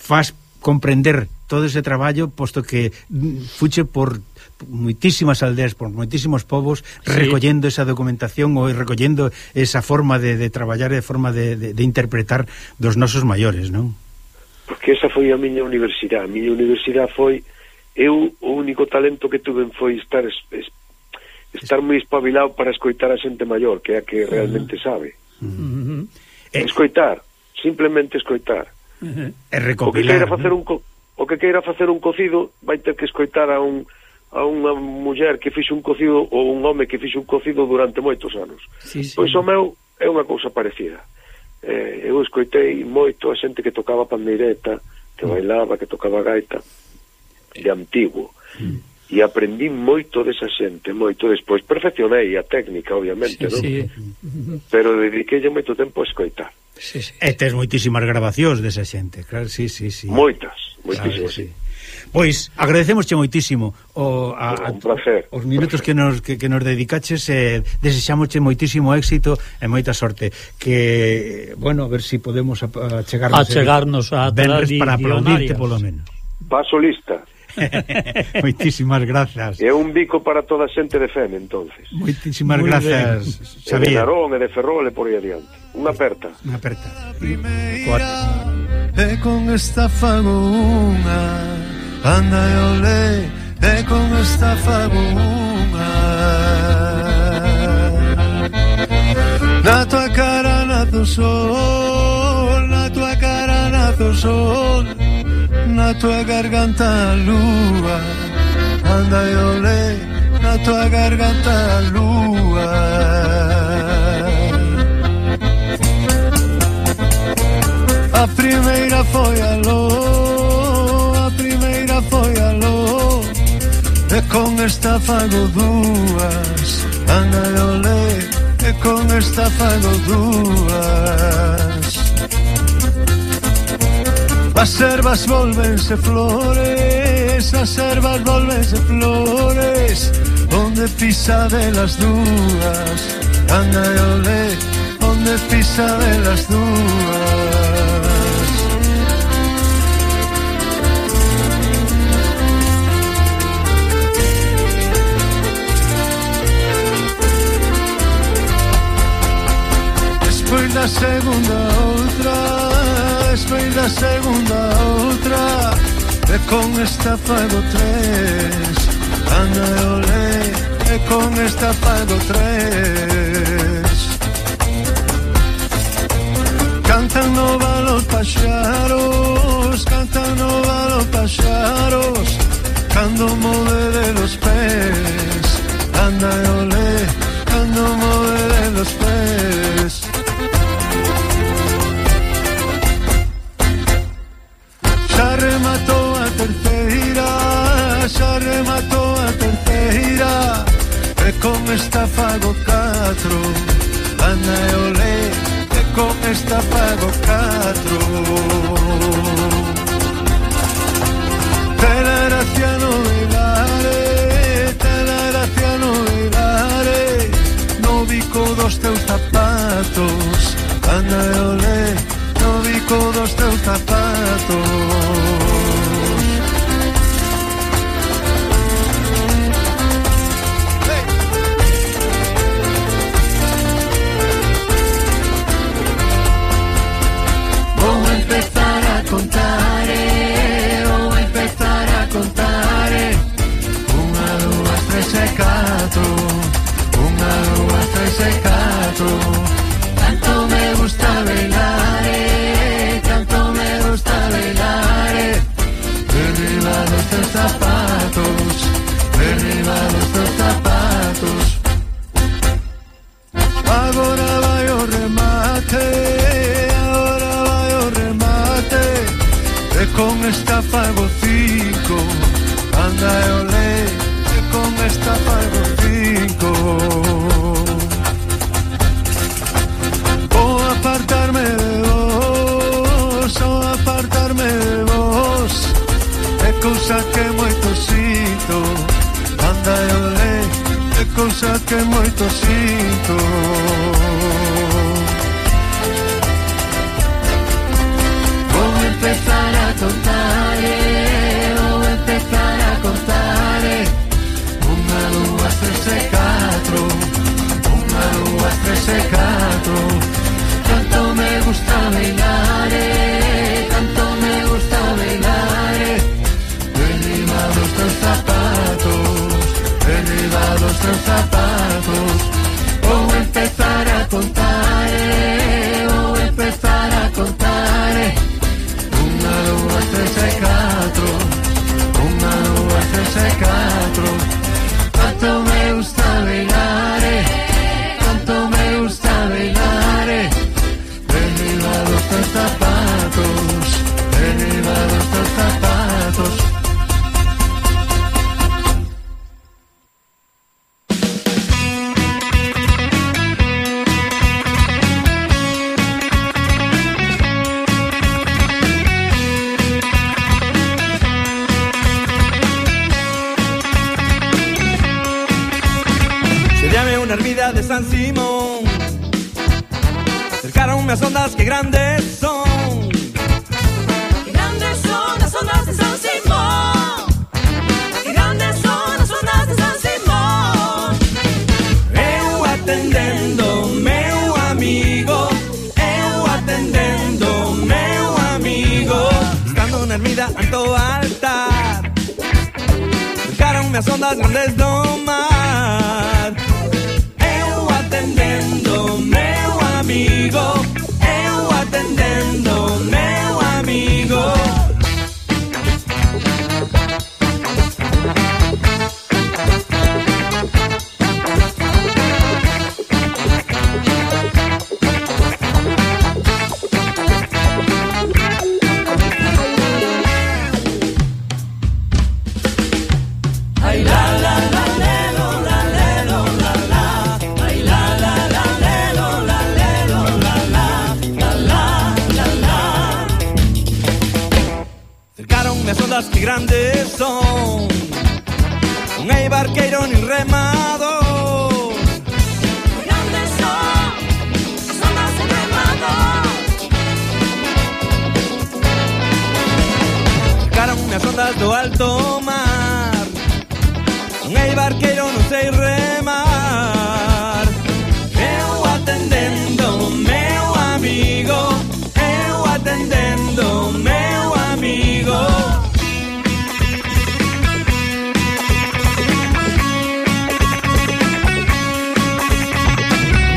faz comprender todo ese traballo, posto que fuche por moitísimas aldeas, por moitísimos povos, recollendo esa documentación ou recollendo esa forma de traballar e forma de interpretar dos nosos maiores, non? Porque esa foi a miña universidade. A miña universidade foi... Eu, o único talento que tuve foi estar moi espabilado para escoitar a xente maior, que é a que realmente sabe. Escoitar, simplemente escoitar. E recopilar. O que queira facer un cocido vai ter que escoitar a unha muller que fixo un cocido ou un home que fixo un cocido durante moitos anos. Pois o meu é unha cousa parecida. Eu escoitei moito a xente que tocaba pandeireta, que bailaba, que tocaba gaita, de antigo, e aprendí moito desa xente, moito. Despois perfeccionei a técnica, obviamente, non? Pero dediquei moito tempo a escoitar. E tes moitísimas grabacións desa xente, claro, sí. Moitísimas, sí. Pois agradecemosche moitísimo un placer. Os minutos que nos dedicaches, desexámosche moitísimo éxito e moita sorte, que, bueno, a ver si podemos achegarnos a para aplaudirte polo menos. Paso lista. Moitísimas grazas. É un bico para toda a xente de Fene, entonces. Moitísimas grazas, E Xavier. de Narón e de Ferrol e por aí adiante. Unha aperta. E con esta fago unha, anda e olé, e con esta fago unha. Na tua cara nace o sol, na tua cara nace o sol, na tua garganta a lúa, anda e olé, na tua garganta a lúa. A primeira foi aló, a primeira foi aló, e con esta fago dúas, anda e olé, e con esta fago dúas. As ervas volvense flores, as ervas volvense flores, onde pisa delas dúas, anda e olé, onde pisa delas dúas. Despois da segunda outra, despois da segunda outra, e con esta fago tres, anda e olé, e con esta fago tres. Cantan no valo paxaros, cantan no valo paxaros, cando move de los pés, anda e olé, cando move de los pés. Xa rematou a terceira, xa rematou a terceira, e con esta fago catro, catro, anda e olé, que con esta pago catro. Te la gracia no velare, no bico dos teus zapatos, anda e olé, no bico dos teus zapatos. Tanto me gusta bailar, tanto me gusta bailar. Derriba los teus zapatos, derriba los teus zapatos. Agora vai o remate, agora vai o remate, e con esta fago 5, anda e olé, e con esta fago 5. Apartarme de vos, é cousa que moito sinto, anda e olé, é cousa que moito sinto. Vou empezar a contar, vou empezar a contar. 1, 2, 3 e 4, 1, 2, 3 e 4. Tanto me gusta bailar, tanto me gusta bailar. Derriba los teus zapatos, derriba los teus zapatos. Vou empezar a contar, vou empezar a contar. 1, 2, 3 e 4, 1, 2, 3 e 4. Tanto me gusta bailar, tanto me gusta bailar. Derriba los teus zapatos, derriba los teus zapatos. Seríame una ermida de San Simón, cercaronme as ondas que grandes son. Que grandes son as ondas de San Simón, que grandes son as ondas de San Simón. Eu atendendo meu amigo, eu atendendo meu amigo. Estando na ermida ante o altar, cercaronme as ondas grandes do mar. Eu atendendo meu amigo, eu atendendo meu amigo. Ay la la la lelo la lelo la la. Ay la la la lelo la lelo la la la la la. Cercaronme as ondas que grandes son, non hai barqueiro nin remador. Que grandes son as ondas de remador. Cercaronme as ondas do alto mar, non hai barqueiro, non sei remar. Eu atendendo meu amigo, eu atendendo meu amigo.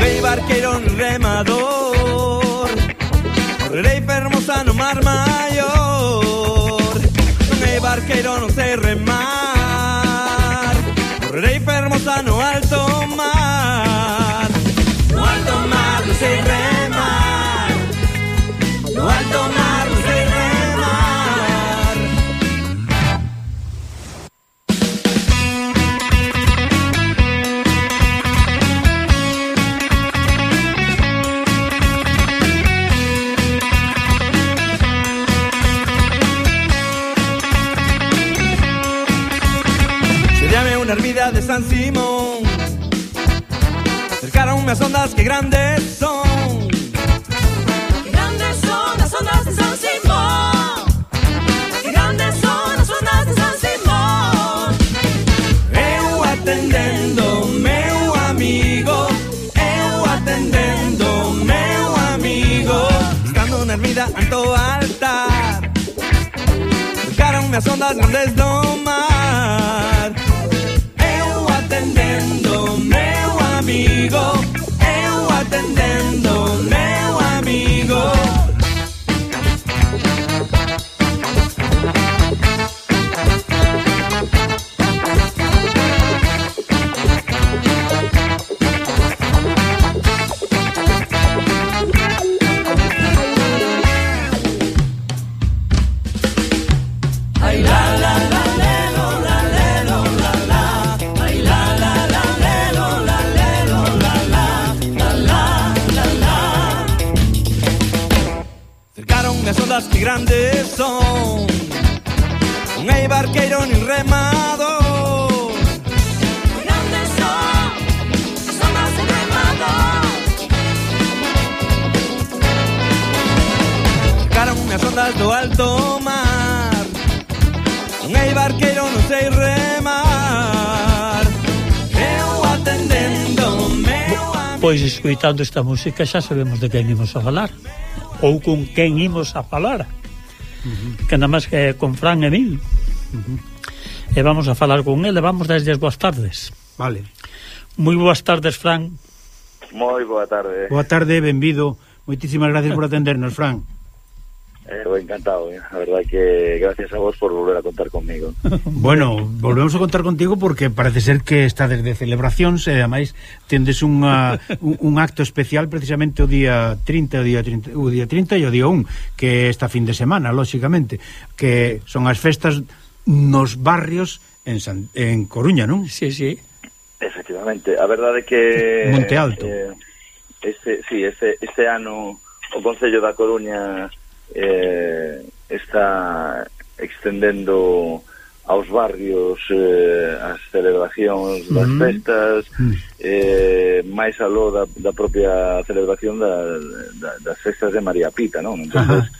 Vei barqueiro nin remador, correrei fermosa no mar maior. Non hai barqueiro, non sei remar, correrei fermosa no vida de San Simón. Cercaronme as ondas que grandes son. Que grandes son as ondas de San Simón. Que grandes son as ondas de San Simón. Eu atendendo meu amigo, eu atendendo meu amigo, estando na ermida ante o altar. Cercaronme as ondas grandes do mar. Eu atendendo meu amigo, eu atendendo meu amigo. Ay la la la lelo la lelo la la. Ay la la la lelo la lelo la la. La la la la. Cercaronme as ondas que grandes son. Non hai barqueiro nin remador. Que grandes son as ondas de remador. Cercaronme as ondas do alto mar. Non hai barqueiro, non sei remar. Eu atendendo meu amigo. Pois escoitando esta música xa sabemos de quen imos a falar ou con quen imos a falar. Que nada máis que con Fran Emil. E vamos a falar con ele. Vamos desde as boas tardes. Vale. Moi boas tardes, Fran. Moi boa tarde. Boa tarde, benvido. Moitísimas gracias por atendernos, Fran. Encantado, a verdad que gracias a vos por volver a contar conmigo. Bueno, volvemos a contar contigo porque parece ser que está desde celebracións e ademais tendes un acto especial precisamente o día 30 e o día 1 que é esta fin de semana, lóxicamente, que son as festas nos barrios en Coruña, non? Sí, sí. Efectivamente, a verdade é que Monte Alto. Este ano o Concello da Coruña está extendendo aos barrios as celebracións das festas, máis aló da propia celebración das festas de María Pita, non? Entón,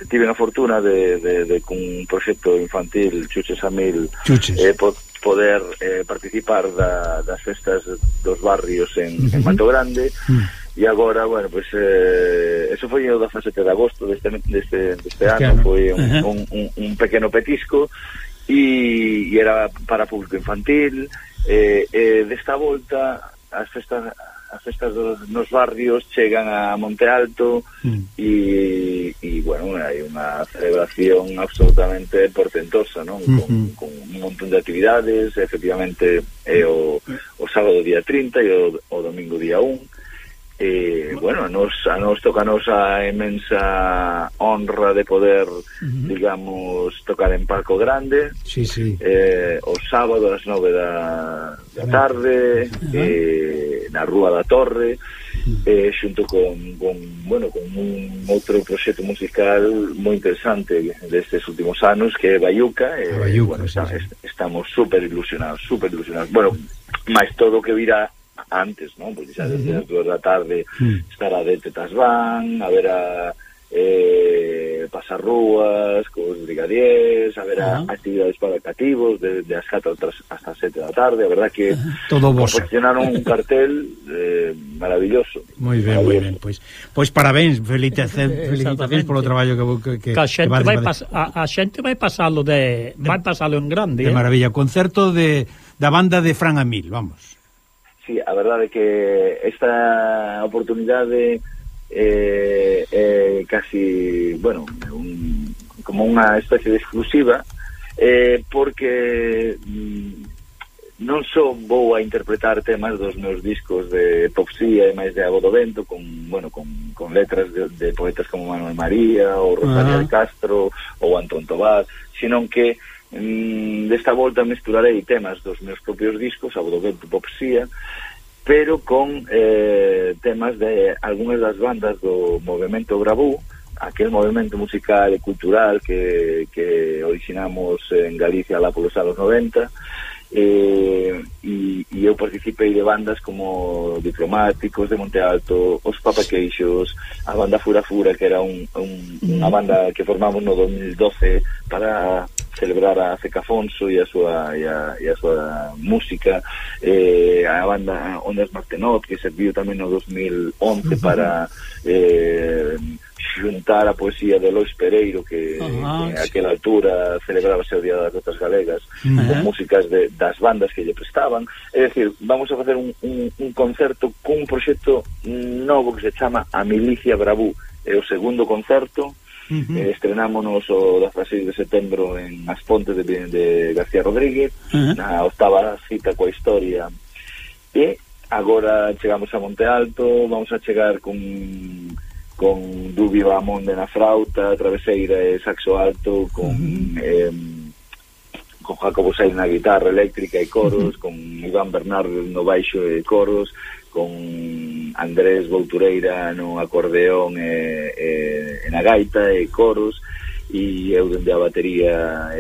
tive a fortuna de con un proxecto infantil Chuches a Mil poder participar das festas dos barrios en Mato Grande. E agora, bueno, pues eso foi o 17 de agosto deste ano, foi un pequeno petisco e era para público infantil. Desta volta as festas nos barrios chegan a Monte Alto e bueno, hai unha celebración absolutamente portentosa, non? Con un montón de actividades. Efectivamente é o sábado día 30 e o domingo día 1. Bueno, a nos tocanos a inmensa honra de poder, digamos, tocar en Palco Grande. O sábado a las 9 da tarde, na Rúa da Torre, xunto con un outro proxecto musical moi interesante destes últimos anos, que é Bayuca. Estamos super ilusionados. Bueno, máis todo o que virá antes, non? Porque xa desde as 2 da tarde estará de Tetas Van, haberá pasarrúas cos brigadiers, haberá actividades para cativos de as 4 hasta as 7 da tarde. A verdad que confeccionaron un cartel maravilloso. Moi ben, moi ben. Pois parabéns, felicitacións polo traballo que a xente vai pasalo en grande. De maravilla, concerto da banda de Fran Amil, vamos. Sí, a verdade é que esta oportunidade é casi, bueno, como unha especie de exclusiva, porque non só vou a interpretar temas dos meus discos de Popsía e máis de Ago do Vento con letras de poetas como Manuel María ou Rosario de Castro ou Antón Tobás, sino que desta volta mesturarei temas dos meus propios discos, Ago do Vento, Popsía, pero con temas de algunhas das bandas do movimento Bravú, aquel movimento musical e cultural que originamos en Galicia lá polos anos 90, e eu participei de bandas como Diplomáticos de Monte Alto, Os Papaqueixos, a banda Fura Fura, que era unha banda que formamos no 2012 para celebrar a Ceca Afonso e a súa música, a banda Ondas Martenot, que serviu tamén no 2011 para xuntar a poesía de Lois Pereiro, que a aquela altura celebrábase o Día das Letras Galegas, con músicas das bandas que lle prestaban. É dicir, vamos a facer un concerto cun proxecto novo que se chama A Milicia Bravú. É o segundo concerto. Estrenámonos o 16 de setembro en As Pontes de García Rodríguez, na 8ª cita coa historia, e agora chegamos a Monte Alto. Vamos a chegar con Dubi Bamonde na frauta, Traveseira e saxo alto, con Jacobo Sainz na guitarra eléctrica e coros, con Iván Bernardo no baixo e coros, con Andrés Boutureira no acordeón e na gaita e coros, e eu dende a batería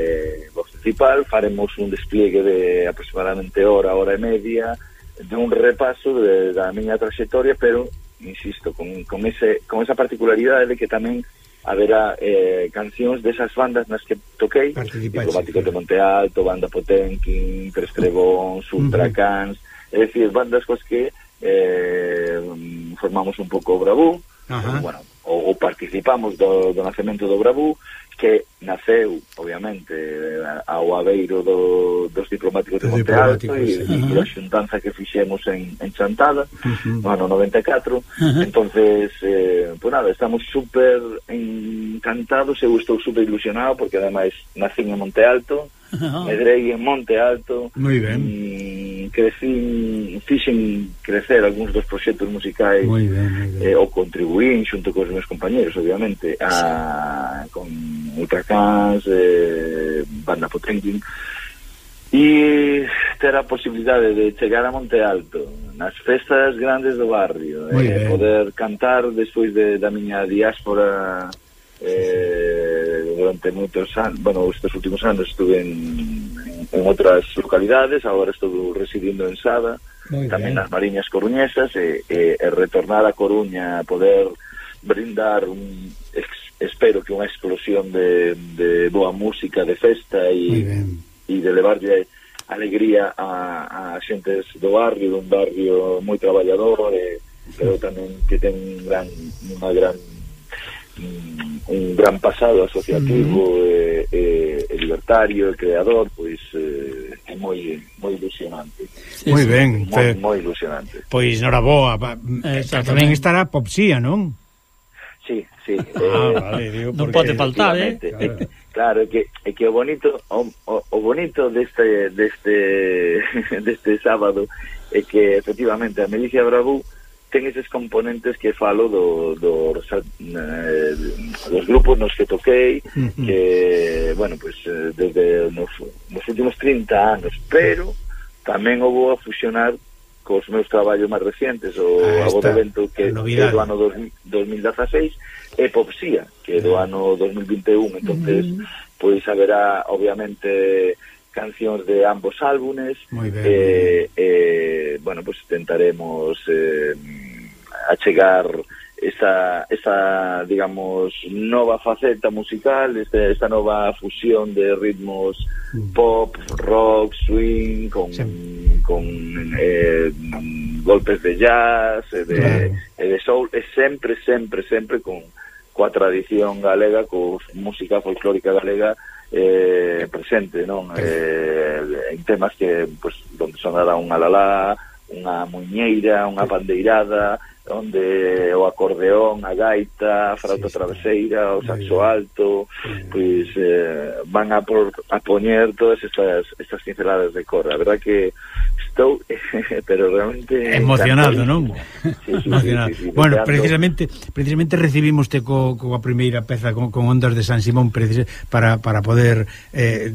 voz principal. Faremos un despliegue de aproximadamente hora e media, de un repaso da miña trayectoria, pero insisto, con esa particularidade de que tamén haberá cancións desas bandas nas que toquei, Diplomáticos de Monte Alto, Banda Potenkin, Tres Trebóns, Ultracans, é dicir, bandas cos que formamos un pouco o Bravú, bueno, ou participamos do nacemento do Bravú, que naceu, obviamente, ao abeiro dos Diplomáticos de Monte Alto e a xuntanza que fixemos en Chantada no ano 94. Entonces, pues nada, estamos super encantados, eu estou super ilusionado porque ademais nacín en Monte Alto, medrei en Monte Alto, moi ben, fixen crecer algúns dos proxectos musicais, ou contribuín xunto cos meus compañeros, obviamente, con Ultracans, Banda Potenkin, e ter a posibilidade de chegar a Monte Alto nas festas grandes do barrio, poder cantar despois da miña diáspora durante moitos anos. Bueno, estes últimos anos estuve en outras localidades, agora estou residindo en Sada, tamén nas Mariñas Coruñesas, e retornar a Coruña, poder brindar espero que unha explosión de boa música, de festa e de levarlle alegría a xentes do barrio, dun barrio moi traballador, pero tamén que ten un gran pasado asociativo e libertario e creador, pois é moi ilusionante. Moi ben, moi ilusionante. Pois noraboa, tamén estará Popsía, non? Sí. Vale, digo, non pode faltar, Claro, é que o bonito deste sábado é que efectivamente a Milicia Bravú ten eses componentes que falo dos grupos nos que toquei, que, bueno, pues desde nos últimos 30 anos, pero tamén o vou a fusionar cos meus traballos máis recientes, o Abodevento, que é do ano 2016, e Popsía, que é do ano 2021. Entonces, pois haberá, obviamente, cancións de ambos álbumes, bueno, pues tentaremos achegar esa, digamos, nova faceta musical, esta nova fusión de ritmos pop, rock, swing, con golpes de jazz, de soul, e sempre coa tradición galega, coa música folclórica galega presente, non? En temas que, pues, donde sonará un alalá, unha muñeira, unha pandeirada, onde o acordeón, a gaita, a frauta traveseira, o saxo alto, pois van a poñer todas estas pinceladas de cor. A verdad que Estou, pero realmente emocionado, non? Sí, emocionado. Sí, bueno, precisamente recibimos coa primeira peza con Ondas de San Simón para poder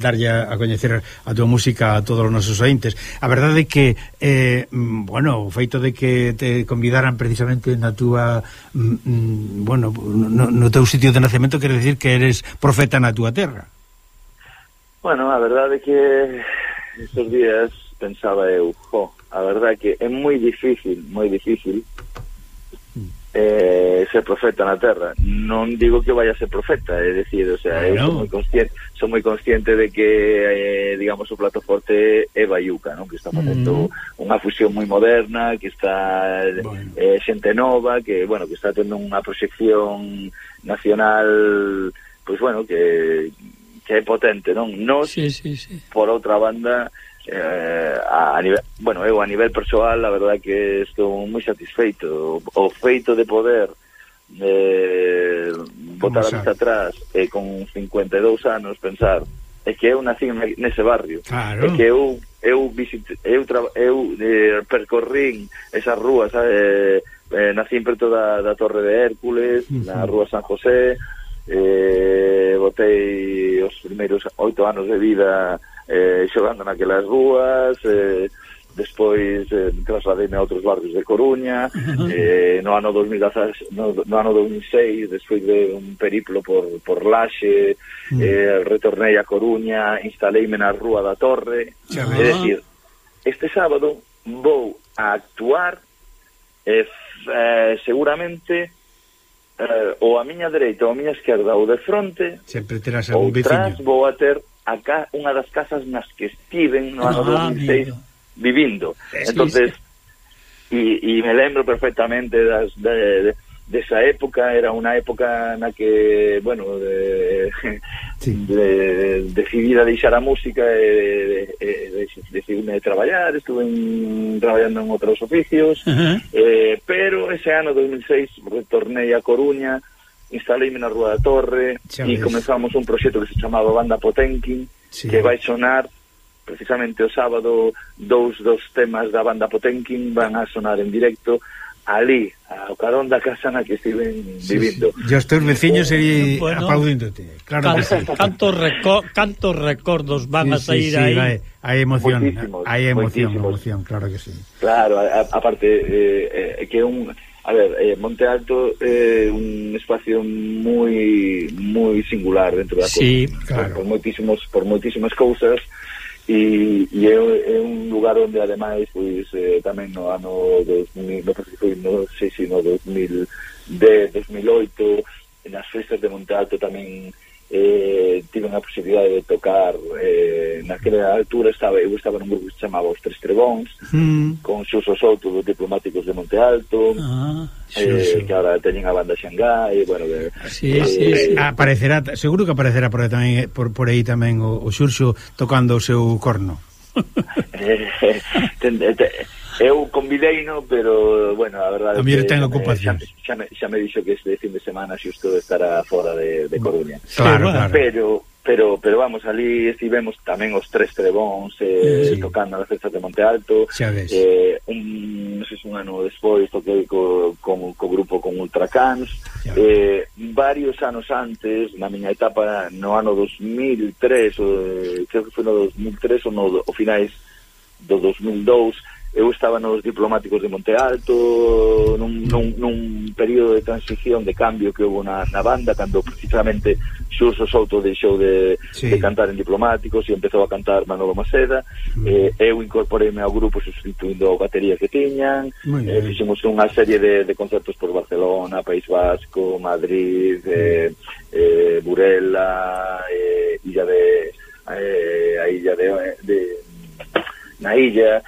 darlle a coñecer a tua música a todos os nosos ointes. A verdade é que bueno, o feito de que te convidaran precisamente na túa bueno, no teu sitio de nacemento quere decir que eres profeta na túa terra. Bueno, a verdade é que estes días pensaba eu, a verdade que é moi difícil ser profeta na terra. Non digo que vaya a ser profeta, é dicir, o sea, eu son moi consciente de que digamos o plato forte é Baiuca, non? Que está facendo unha fusión moi moderna, que está xente nova, que bueno, que está tendo unha proxección nacional, pois bueno, que é potente, non? Nos, por outra banda, a nivel, bueno, eu a nivel persoal, a verdade que estou moi satisfeito. O feito de poder botar a vista atrás e con 52 anos pensar é que eu nací nese barrio, é que eu percorrín esas rúas, nací preto da Torre de Hércules, na Rúa San José, botei os primeiros 8 anos de vida xogando naquelas rúas, despois trasladeime a outros barrios de Coruña, no ano 2016, despois de un periplo por Laxe, retornei a Coruña, instaleime na Rúa da Torre, é dicir, este sábado vou a actuar seguramente ou a miña dereita ou a miña esquerda ou de fronte, sempre terás algún veciño. Outras vou a ter acá unha das casas nas que estiven no ano 2006 vivindo. Entonces, e me lembro perfectamente desa época. Era unha época na que, bueno, decidira deixar a música e decidime traballar. Estuve traballando en outros oficios, pero ese ano 2006 retornei a Coruña, instaleime na Rúa da Torre e comenzamos un proxecto que se chamaba Banda Potenkin, que vai sonar precisamente o sábado. Dous dos temas da Banda Potenkin van a sonar en directo ali, ao carón da casa na que estiven vivindo. E os teus veciños aplaudíndote, claro que sí. Cantos recordos van a sair aí. Hai emoción, claro que sí. Claro, aparte que a ver, Monte Alto é un espacio moi singular dentro da Coruña, claro. por moitísimas cousas, e é un lugar onde ademais pois tamén no ano 2000, non sei se no 2010, 2008, nas festas de Monte Alto tamén tiven a posibilidade de tocar. Naquela altura eu estaba nun grupo que se chamaba Os Tres Trebóns, con Xuso Souto dos Diplomáticos de Monte Alto, que ahora teñen a banda Xangai, bueno, aparecerá, seguro que aparecerá por aí tamén o Xurxo tocando o seu corno. Eu convideino, pero bueno, a verdade é que ten ocupación. Xa me dixo que este fin de semana xusto estará fora de Coruña. Claro. Pero vamos, ali estivemos tamén Os Tres Trebóns tocando nas festas de Monte Alto. Non sei se un ano despois toquei co grupo con Ultracans. Varios anos antes, na miña etapa no ano 2003, creo que foi no 2003 ou o finais do 2002, eu estaba nos Diplomáticos de Monte Alto nun período de transición, de cambio que houve na banda, cando precisamente Xurxo Souto deixou de cantar en Diplomáticos e empezou a cantar Manolo Maceda. Eu incorporeime ao grupo sustituindo a batería que tiñan, fixemos unha serie de concertos por Barcelona, País Vasco, Madrid, Burela, na illa,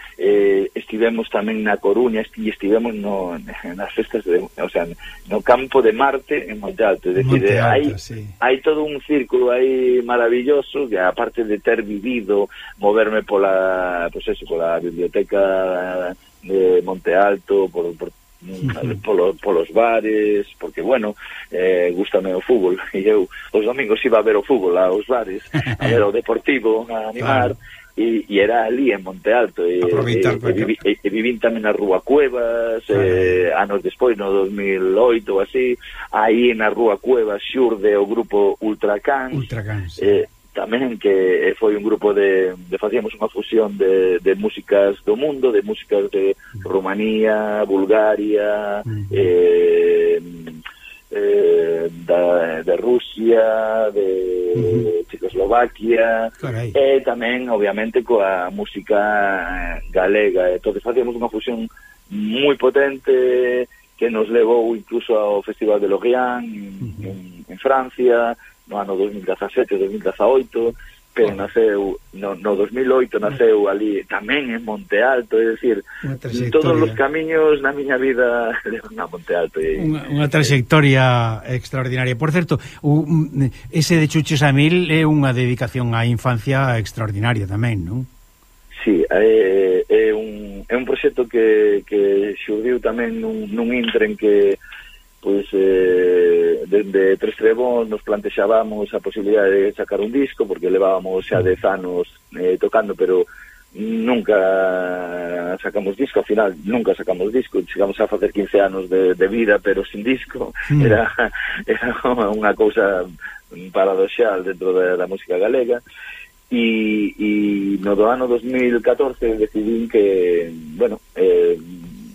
estivemos tamén na Coruña e estivemos nas festas no campo de Marte en Monte Alto, é dicir, hai todo un círculo aí maravilloso, que aparte de ter vivido, moverme pola biblioteca de Monte Alto, polos bares, porque bueno, gústame o fútbol, e eu os domingos iba a ver o fútbol aos bares, a ver o Deportivo, a animar, e era ali en Monte Alto e vivín tamén na Rúa Cuevas anos despois, no 2008 ou así, aí na Rúa Cuevas xurde o grupo Ultracans, tamén que foi un grupo de facíamos unha fusión de músicas do mundo, de músicas de Rumanía, Bulgaria, de Rusia, de Checoslovaquia, e tamén obviamente coa música galega. Entonces facíamos unha fusión moi potente que nos levou incluso ao Festival de Lorient en Francia no ano 2017-2018, pero naceu no 2008, naceu ali tamén en Monte Alto, é dicir, todos os camiños na miña vida levan a Monte Alto. Unha trayectoria extraordinaria. Por certo, ese de Chuches a Mil é unha dedicación á infancia extraordinaria tamén, non? Sí, é un proxecto que xurdiu tamén nun intre en que pois dende Tres Trebóns nos plantexábamos a posibilidade de sacar un disco, porque levábamos xa 10 anos tocando, pero nunca sacamos disco. Ao final nunca sacamos disco, chegamos a facer 15 anos de vida pero sin disco. Era unha cousa paradoxal dentro da música galega. E no do ano 2014 decidín que, bueno,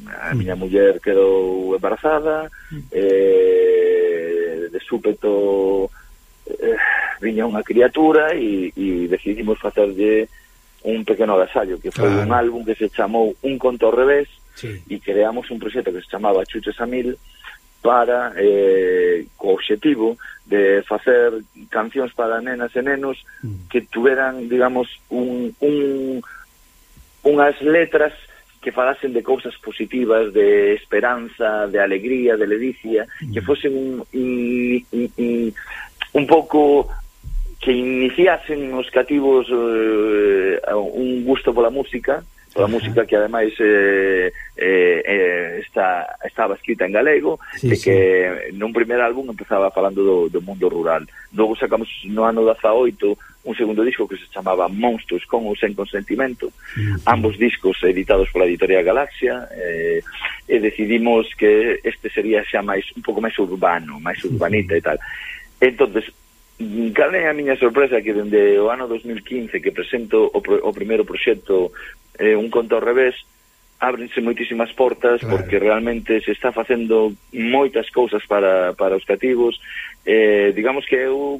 a miña muller quedou embarazada, de súpeto viña unha criatura e decidimos facerlle un pequeno agasallo, que foi un álbum que se chamou Un conto ao revés, e creamos un proxecto que se chamaba Chuches a Mil para co obxectivo de facer cancións para nenas e nenos que tuveran, digamos, unhas letras que falasen de cousas positivas, de esperanza, de alegría, de ledicia, que fosen un pouco que iniciasen os cativos un gusto pola música, música que ademais estaba escrita en galego, e que nun primer álbum empezaba falando do mundo rural. Logo sacamos no ano 18 un segundo disco que se chamaba Monstruos con ou sen consentimento, ambos discos editados pola editorial Galaxia, e decidimos que este sería xa un pouco máis urbano, máis urbanita e tal. Entonces, cal é a miña sorpresa que dende o ano 2015 que presento o primeiro proxecto Un conto ao revés, ábrense moitísimas portas, porque realmente se está facendo moitas cousas para os cativos. Digamos que eu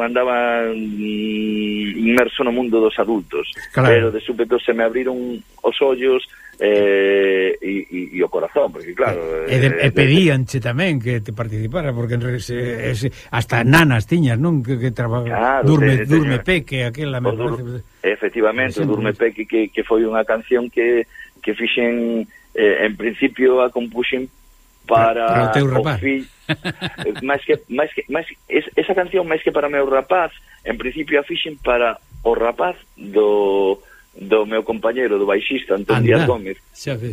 andaba inmerso no mundo dos adultos, pero de súpeto se me abriron os ollos e o corazón, porque claro... E pedíanche tamén que te participara, porque hasta nanas tiñas, non? Que trabaja Durme Peque, aquela... Efectivamente, Durme Peque, que foi unha canción que fixen, en principio a compuxen para o teu rapaz. Esa canción, máis que para o meu rapaz, en principio a fixen para o rapaz do meu compañero, do baixista Antón Díaz Gómez,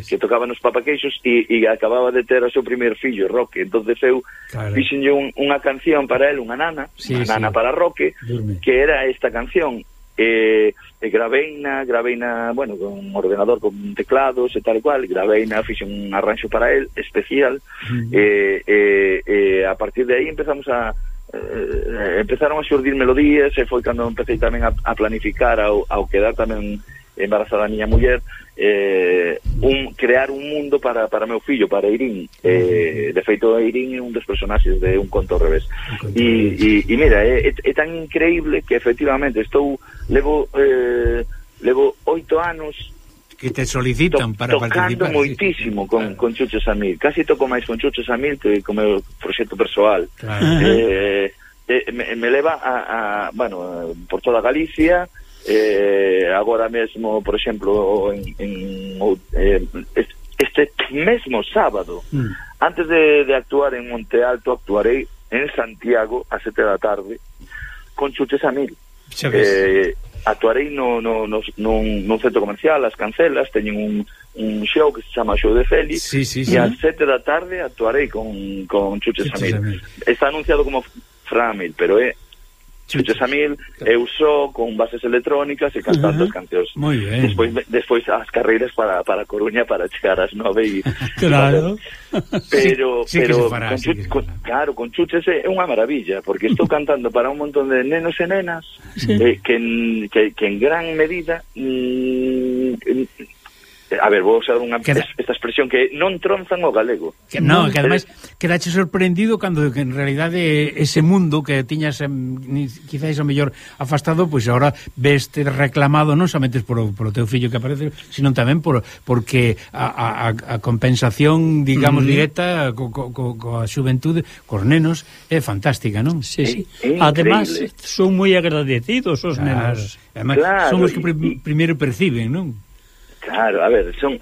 que tocaba nos Papaqueixos e acababa de ter o seu primer fillo, Roque. Entonces eu fixenlle unha canción para él, unha nana para Roque, que era esta canción. Graveina, bueno, con un ordenador con teclados e tal cual, graveina, fixen un arranxo para él especial, a partir de aí empezaron a xurdir melodías, e foi cando empecé tamén a planificar ao quedar tamén embarazada a miña muller, crear un mundo para meu fillo, para Irín. De feito, Irín é un dos personaxes de Un conto ao revés. E mira, é tan increíble que efectivamente levo 8 anos que te solicitan para participar. Tocando moitísimo con Chuches a Mil. Casi toco máis con Chuches a Mil que con meu proxecto persoal. Me leva bueno, por toda Galicia. Agora mesmo, por exemplo, este mesmo sábado, antes de actuar en Monte Alto, actuarei en Santiago a 7 da tarde con Chuches a Mil. Actuarei nun centro comercial, As Cancelas, teñen un show que se chama Show de Félix, e a 7 da tarde actuarei con Chuches a Mil. Está anunciado como Fran Mil, pero é Chucho Samil, eu só con bases electrónicas e cantando as cancións. Moi ben. Despois as carreiras para Coruña para chegar ás 9 e claro. Pero fará, con Chuches é unha maravilla, porque estou cantando para un montón de nenos e nenas que en gran medida a ver, vou usar esta expresión que non tronzan o galego. Que ademais quedache sorprendido cando que en realidade ese mundo que tiñas quizáis o mellor afastado, pois agora veste reclamado non somente por o teu fillo que aparece, sino tamén porque a compensación, digamos, directa coa xuventude, cos nenos, é fantástica, non? Sí. Ademais, son moi agradecidos os nenos. Ademais, son os que primeiro perciben, non? Claro, a ver, son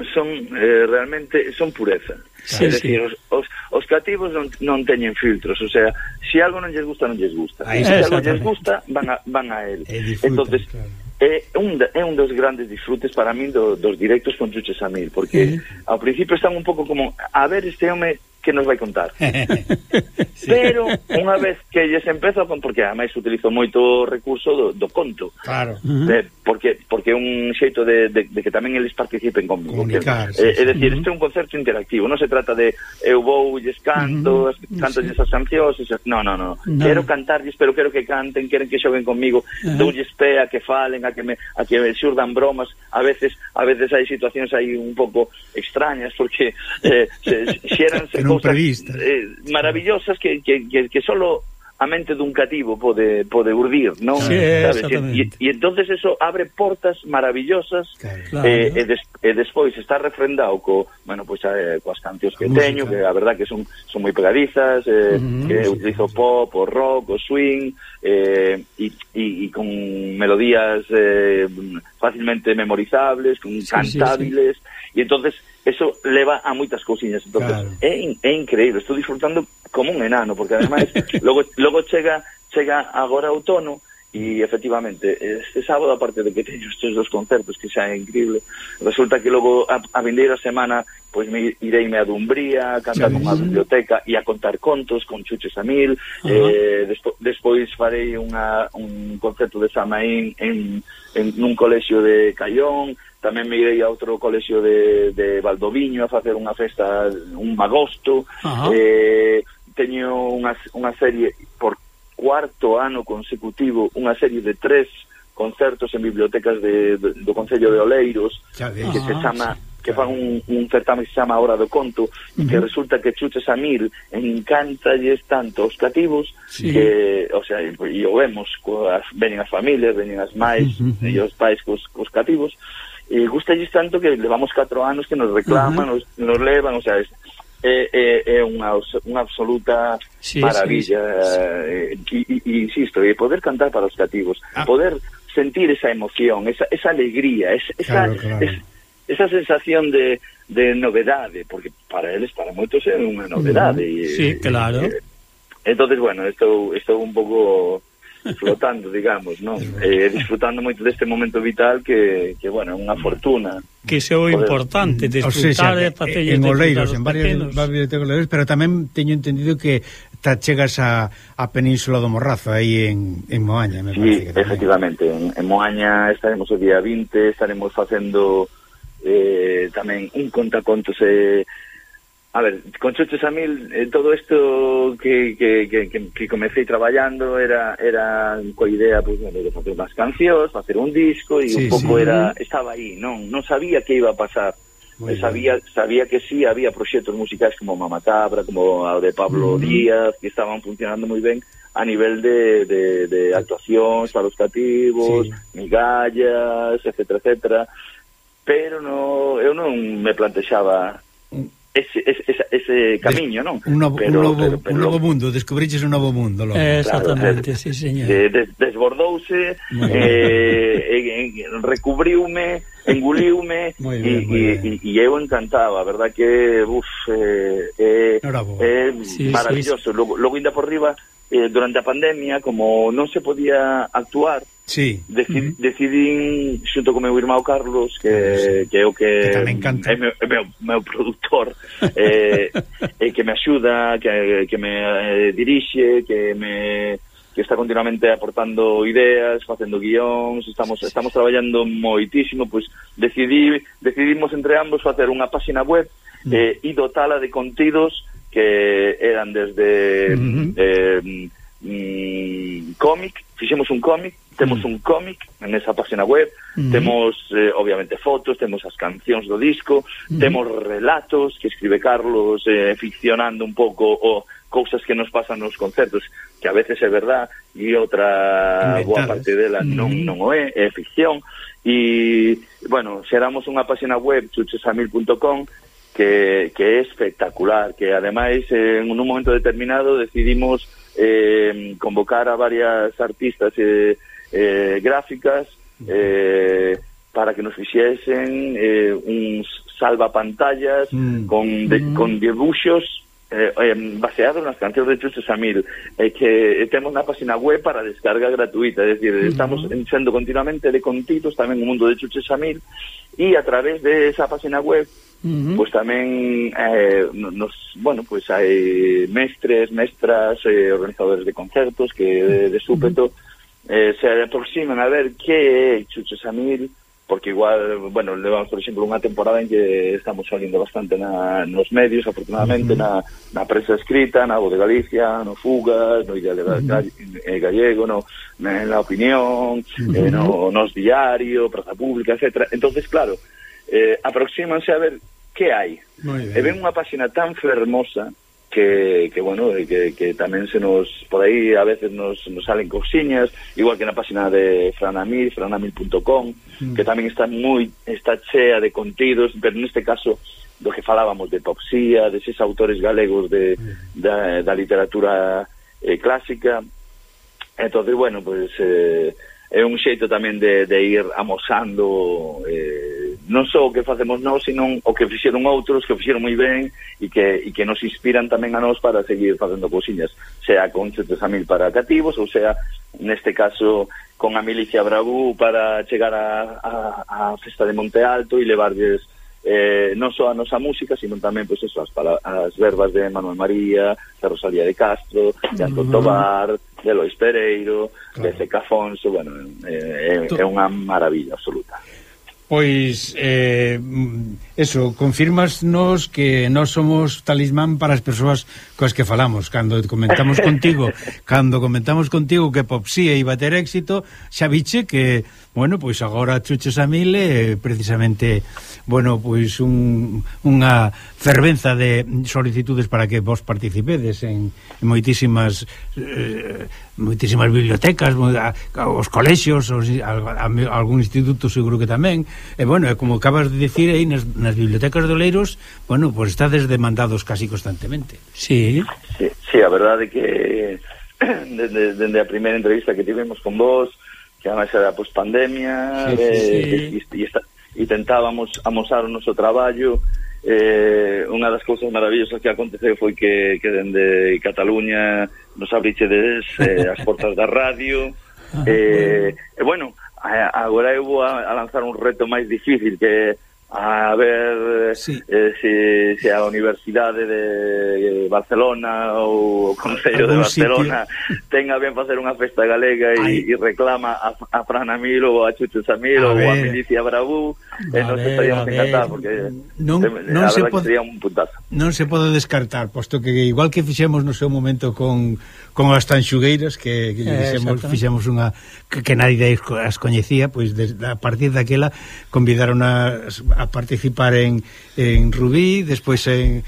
realmente son pureza. É dicir, os cativos non teñen filtros, o sea, se algo non lles gusta, non lles gusta. Se algo lles gusta, van a él. Entonces, claro. É un dos grandes disfrutes para min dos directos con Chucho Samil, porque ao principio están un pouco como, a ver este home que nos vai contar. Pero unha vez que lles empeza, porque ademais utilizo moito o recurso do conto. Claro. Porque é un xeito de que tamén eles participen comigo. É dicir, este é un concerto interactivo, non se trata de eu vou lles canto, cantalles as cancións, non. Quero cantarlles, pero quero que canten, queren que xoguen comigo, doulles pé a que falen, a que me xurdan bromas. A veces hai situacións aí un pouco extrañas, porque xéranse cousas maravillosas que solo a mente dun cativo pode urdir, non? Sí, e entonces eso abre portas maravillosas. Claro. E despois está refrendado coas cancións que teño, que a verdad que son moi pegadizas, que utilizo pop, o rock, o swing, e con melodías fácilmente memorizables, cantables, e entonces eso leva a moitas cousiñas. Entonces, claro, é increíble, estou disfrutando como un enano, porque ademais logo chega agora outono, e efectivamente este sábado, aparte de que teño estes dos concertos que xa é increíble, resulta que logo a vindeira semana pois ireime a Dumbría, a cantar nunha biblioteca e a contar contos con Chucho Samil. Despois farei un concerto de Samaín en nun colexio de Caión. Tamén me irei a outro colexio de Valdoviño a facer unha festa un agosto. Teño unha serie por cuarto ano consecutivo, unha serie de 3 concertos en bibliotecas do Concello de Oleiros, que se chama, que fan un certame que se chama Hora do Conto, que resulta que Chucho Samil encántalles tanto os cativos que, o sea, e o vemos, veñen as familias, veñen as máis e os pais cos cativos, e gustalles tanto que levamos 4 anos que nos reclaman, nos levan, o sea, é unha absoluta maravilla. E insisto, poder cantar para os cativos, poder sentir esa emoción, esa alegría, esa sensación de novedade, porque para eles, para moitos é unha novedade. Sí, claro. Entonces, bueno, estou un pouco flotando, digamos, non? Disfrutando moito deste momento vital que bueno, é unha fortuna. Que iso é o importante, disfrutar en Oleiros, en varias bibliotecas Oleiros, pero tamén teño entendido que chegas a Península do Morrazo, aí en Moaña, me parece. Sí, efectivamente, en Moaña estaremos o día 20, estaremos facendo tamén un contacontos. A ver, con Chucho Samil, todo isto que comecei traballando era coa idea, pues, bueno, de facer unhas cancións, facer un disco, e un pouco estaba aí, non sabía que iba a pasar. Sabía que sí, había proxectos musicais como Mamatabra, como o de Pablo Díaz, que estaban funcionando moi ben a nivel de actuacións para os cativos, migallas, etcétera, pero eu non me plantexaba ese camiño, non? Un novo mundo, descubriches un novo mundo. Exactamente, claro, sí, señor. Desbordouse, recubriume, enguliume, e eu encantaba, a verdad que é maravilloso. Logo ainda por riba, durante a pandemia, como non se podía actuar, decidín xunto con meu irmão Carlos, que é o que é meu produtor, e que me axuda, que me dirixe, que me está continuamente aportando ideas, facendo guións, estamos traballando moitísimo, pois decidimos entre ambos facer unha páxina web e dotala de contidos que eran desde cómic, fixemos un cómic, temos un cómic en esa página web, temos obviamente fotos, temos as cancións do disco, temos relatos que escribe Carlos ficcionando un pouco o cousas que nos pasan nos concertos, que a veces é verdad e outra boa parte dela non o é ficción. E, bueno, xeramos unha página web, chuchesamil.com, que é espectacular, que ademais en un momento determinado decidimos convocar a varias artistas gráficas para que nos fixesen uns salvapantallas con dibuxos baseados nas cancións de Chucho Samil, que temos na página web para descarga gratuita, é dicir, estamos sendo continuamente de contidos tamén o mundo de Chucho Samil, e a través de esa página web pois tamén pois hai mestres, mestras, organizadores de concertos que de súpeto se aproximan a ver que é Chucho Samil, porque igual, bueno, levamos, por exemplo, unha temporada en que estamos salindo bastante nos medios, afortunadamente, na prensa escrita, na Voz de Galicia, no Fugas, no Ideal Gallego, na Opinión, nos Diario, Praza Pública, etc. Entonces, claro, aproxímanse a ver que hai. E ven unha páxina tan fermosa que bueno, que tamén se nos, por aí a veces nos salen cousiñas, igual que na página de Franamil, franamil.com, que tamén está chea de contidos, pero neste caso do que falábamos de poesía, deses autores galegos da literatura clásica. Entonces, bueno, pues é un xeito tamén de ir amosando non só o que facemos nós, sino o que fixeron outros, que fixeron moi ben e que nos inspiran tamén a nós para seguir facendo cousiñas, sea con Chucho Samil para cativos, ou sea, neste caso, con a Milicia Bravú para chegar a festa de Monte Alto e levarlles non só a nosa música, sino tamén pois eso, as verbas de Manuel María, de Rosalía de Castro, de Antón Tobar, de Lois Pereiro, de Zeca Afonso. Bueno, é unha maravilla absoluta. Pois eso, confirmasnos que nós somos talismán para as persoas coas que falamos. Cando comentamos contigo que Popsía iba a ter éxito, xa viche que, bueno, pois agora Chucho Samil precisamente, bueno, pois unha fervenza de solicitudes para que vos participedes en moitísimas bibliotecas, os colexios, algún instituto seguro que tamén. E, bueno, como acabas de dicir aí, nas bibliotecas de Oleiros, bueno, pues estades demandados casi constantemente. Sí, a verdade que dende a primeira entrevista que tivemos con vos, que además era post-pandemia, e tentábamos amosar o noso traballo. Unha das cousas maravillosas que aconteceu foi que dende Cataluña nos abrichedes as portas da radio. Bueno, agora eu vou a lanzar un reto máis difícil, que a ver se a Universidade de Barcelona ou o Concello de Barcelona tenga ben facer unha festa galega e reclama a Franamil ou a Chucho Samil ou a Milicia Bravú, e nos estaríamos encantados, porque a verdad que sería un puntazo. Non se pode descartar, posto que igual que fixemos no seu momento con as tanxugueiras, que fixemos unha que nadie as coñecía, pois a partir daquela convidaron a participar en Rubí, despois en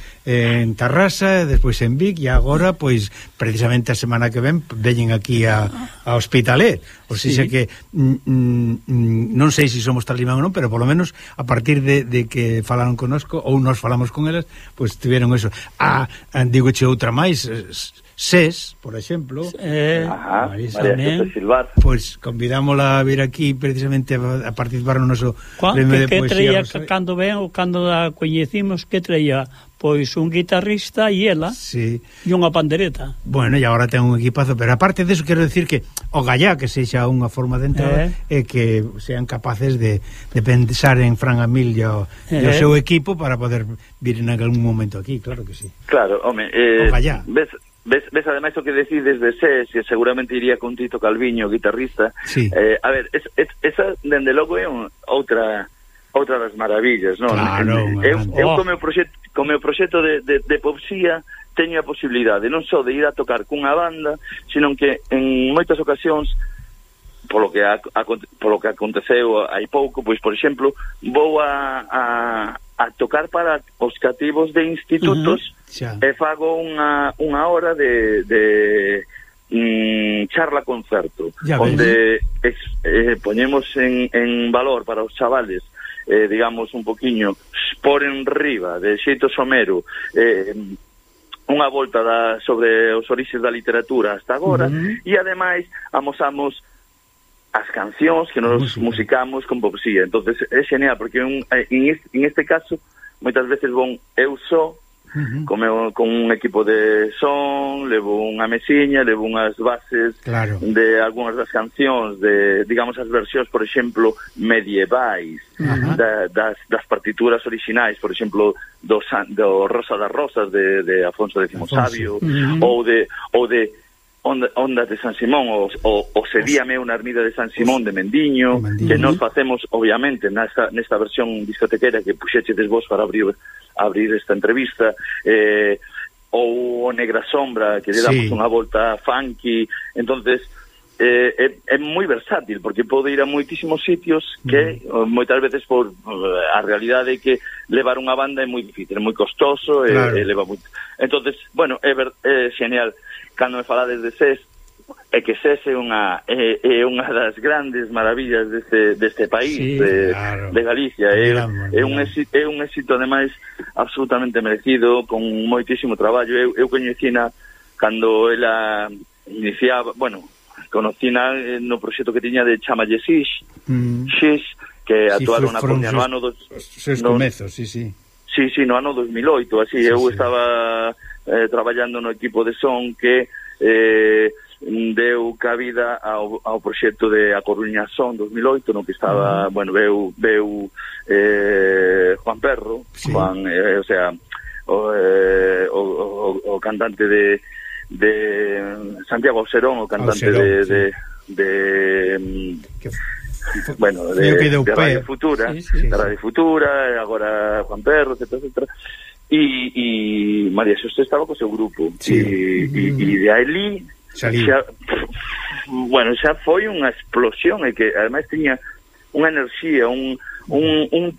Tarrasa, despois en Vic, e agora, pois, precisamente a semana que ven veñen aquí a Hospitalet. O sea que non sei se somos talismán ou non, pero polo menos a partir de que falaron connosco, ou nos falamos con elas, pois tiveron eso. Digoche outra máis, SES, por exemplo, Marisa Silvar, pois convidámola a vir aquí precisamente a participar no noso premio de poesía. Cando ven ou cando a coñecimos, que traía? Pois un guitarrista e ela, e unha pandereta. Bueno, e agora ten un equipazo, pero aparte deso quero decir que o gallá que sexa unha forma de entrada é que sean capaces de pensar en Fran Amil e o seu equipo para poder vir en algún momento aquí, claro que sí. Claro, home, ves ademais o que decides de SES, que seguramente iría con Tito Calviño, guitarrista. Sí. A ver, esa dende logo é outra das maravillas, non? Claro, eu co meu proxecto de Popsía teño a posibilidade non só de ir a tocar cunha banda, sino que en moitas ocasións polo que aconteceu hai pouco, pois por exemplo, vou a tocar para os cativos de institutos e fago unha hora de charla concerto onde poñemos en valor para os chavales, digamos un poquiño por enriba de xeito somero unha volta sobre os orixes da literatura hasta agora, e ademais amosamos as cancións que nos musicamos con Popsía. Entonces é genial porque en este caso moitas veces eu só con un equipo de son, levo unha mesiña, levo unhas bases de algunhas das cancións, de, digamos, as versións, por exemplo, medievais das partituras orixinais, por exemplo, do Rosa das Rosas de Afonso X Sabio, ou de Ondas de San Simón, o Sedíame unha ermida de San Simón de Mendiño, que nos facemos, obviamente, nesta versión discotequera que puxechedes vos para abrir esta entrevista, ou Negra Sombra, que lle damos unha volta funky. Entonces é moi versátil, porque pode ir a moitísimos sitios que moitas veces por a realidade é que levar unha banda é moi difícil, é moi costoso, leva moito. Entonces, bueno, é genial. Cando me falades de SES, é que SES é unha das grandes maravillas deste país, de Galicia. É un éxito ademais absolutamente merecido, con moitísimo traballo. Eu coñecina cando ela iniciaba, conocina no proxecto que tiña de Chamalle Xix, que actuaron na Coruña no ano seus comezos, no ano 2008, así. Eu estaba traballando no equipo de son que deu cabida ao proxecto de A Coruña Son 2008, no que estaba, veu Juan Perro, Juan, o sea, o cantante de Santiago Auserón, o cantante de Radio Futura, de Radio Futura, agora Juan Perro, etcétera. E María Xosé estaba co seu grupo, e de aí xa foi unha explosión, e que ademais tiña unha enerxía, un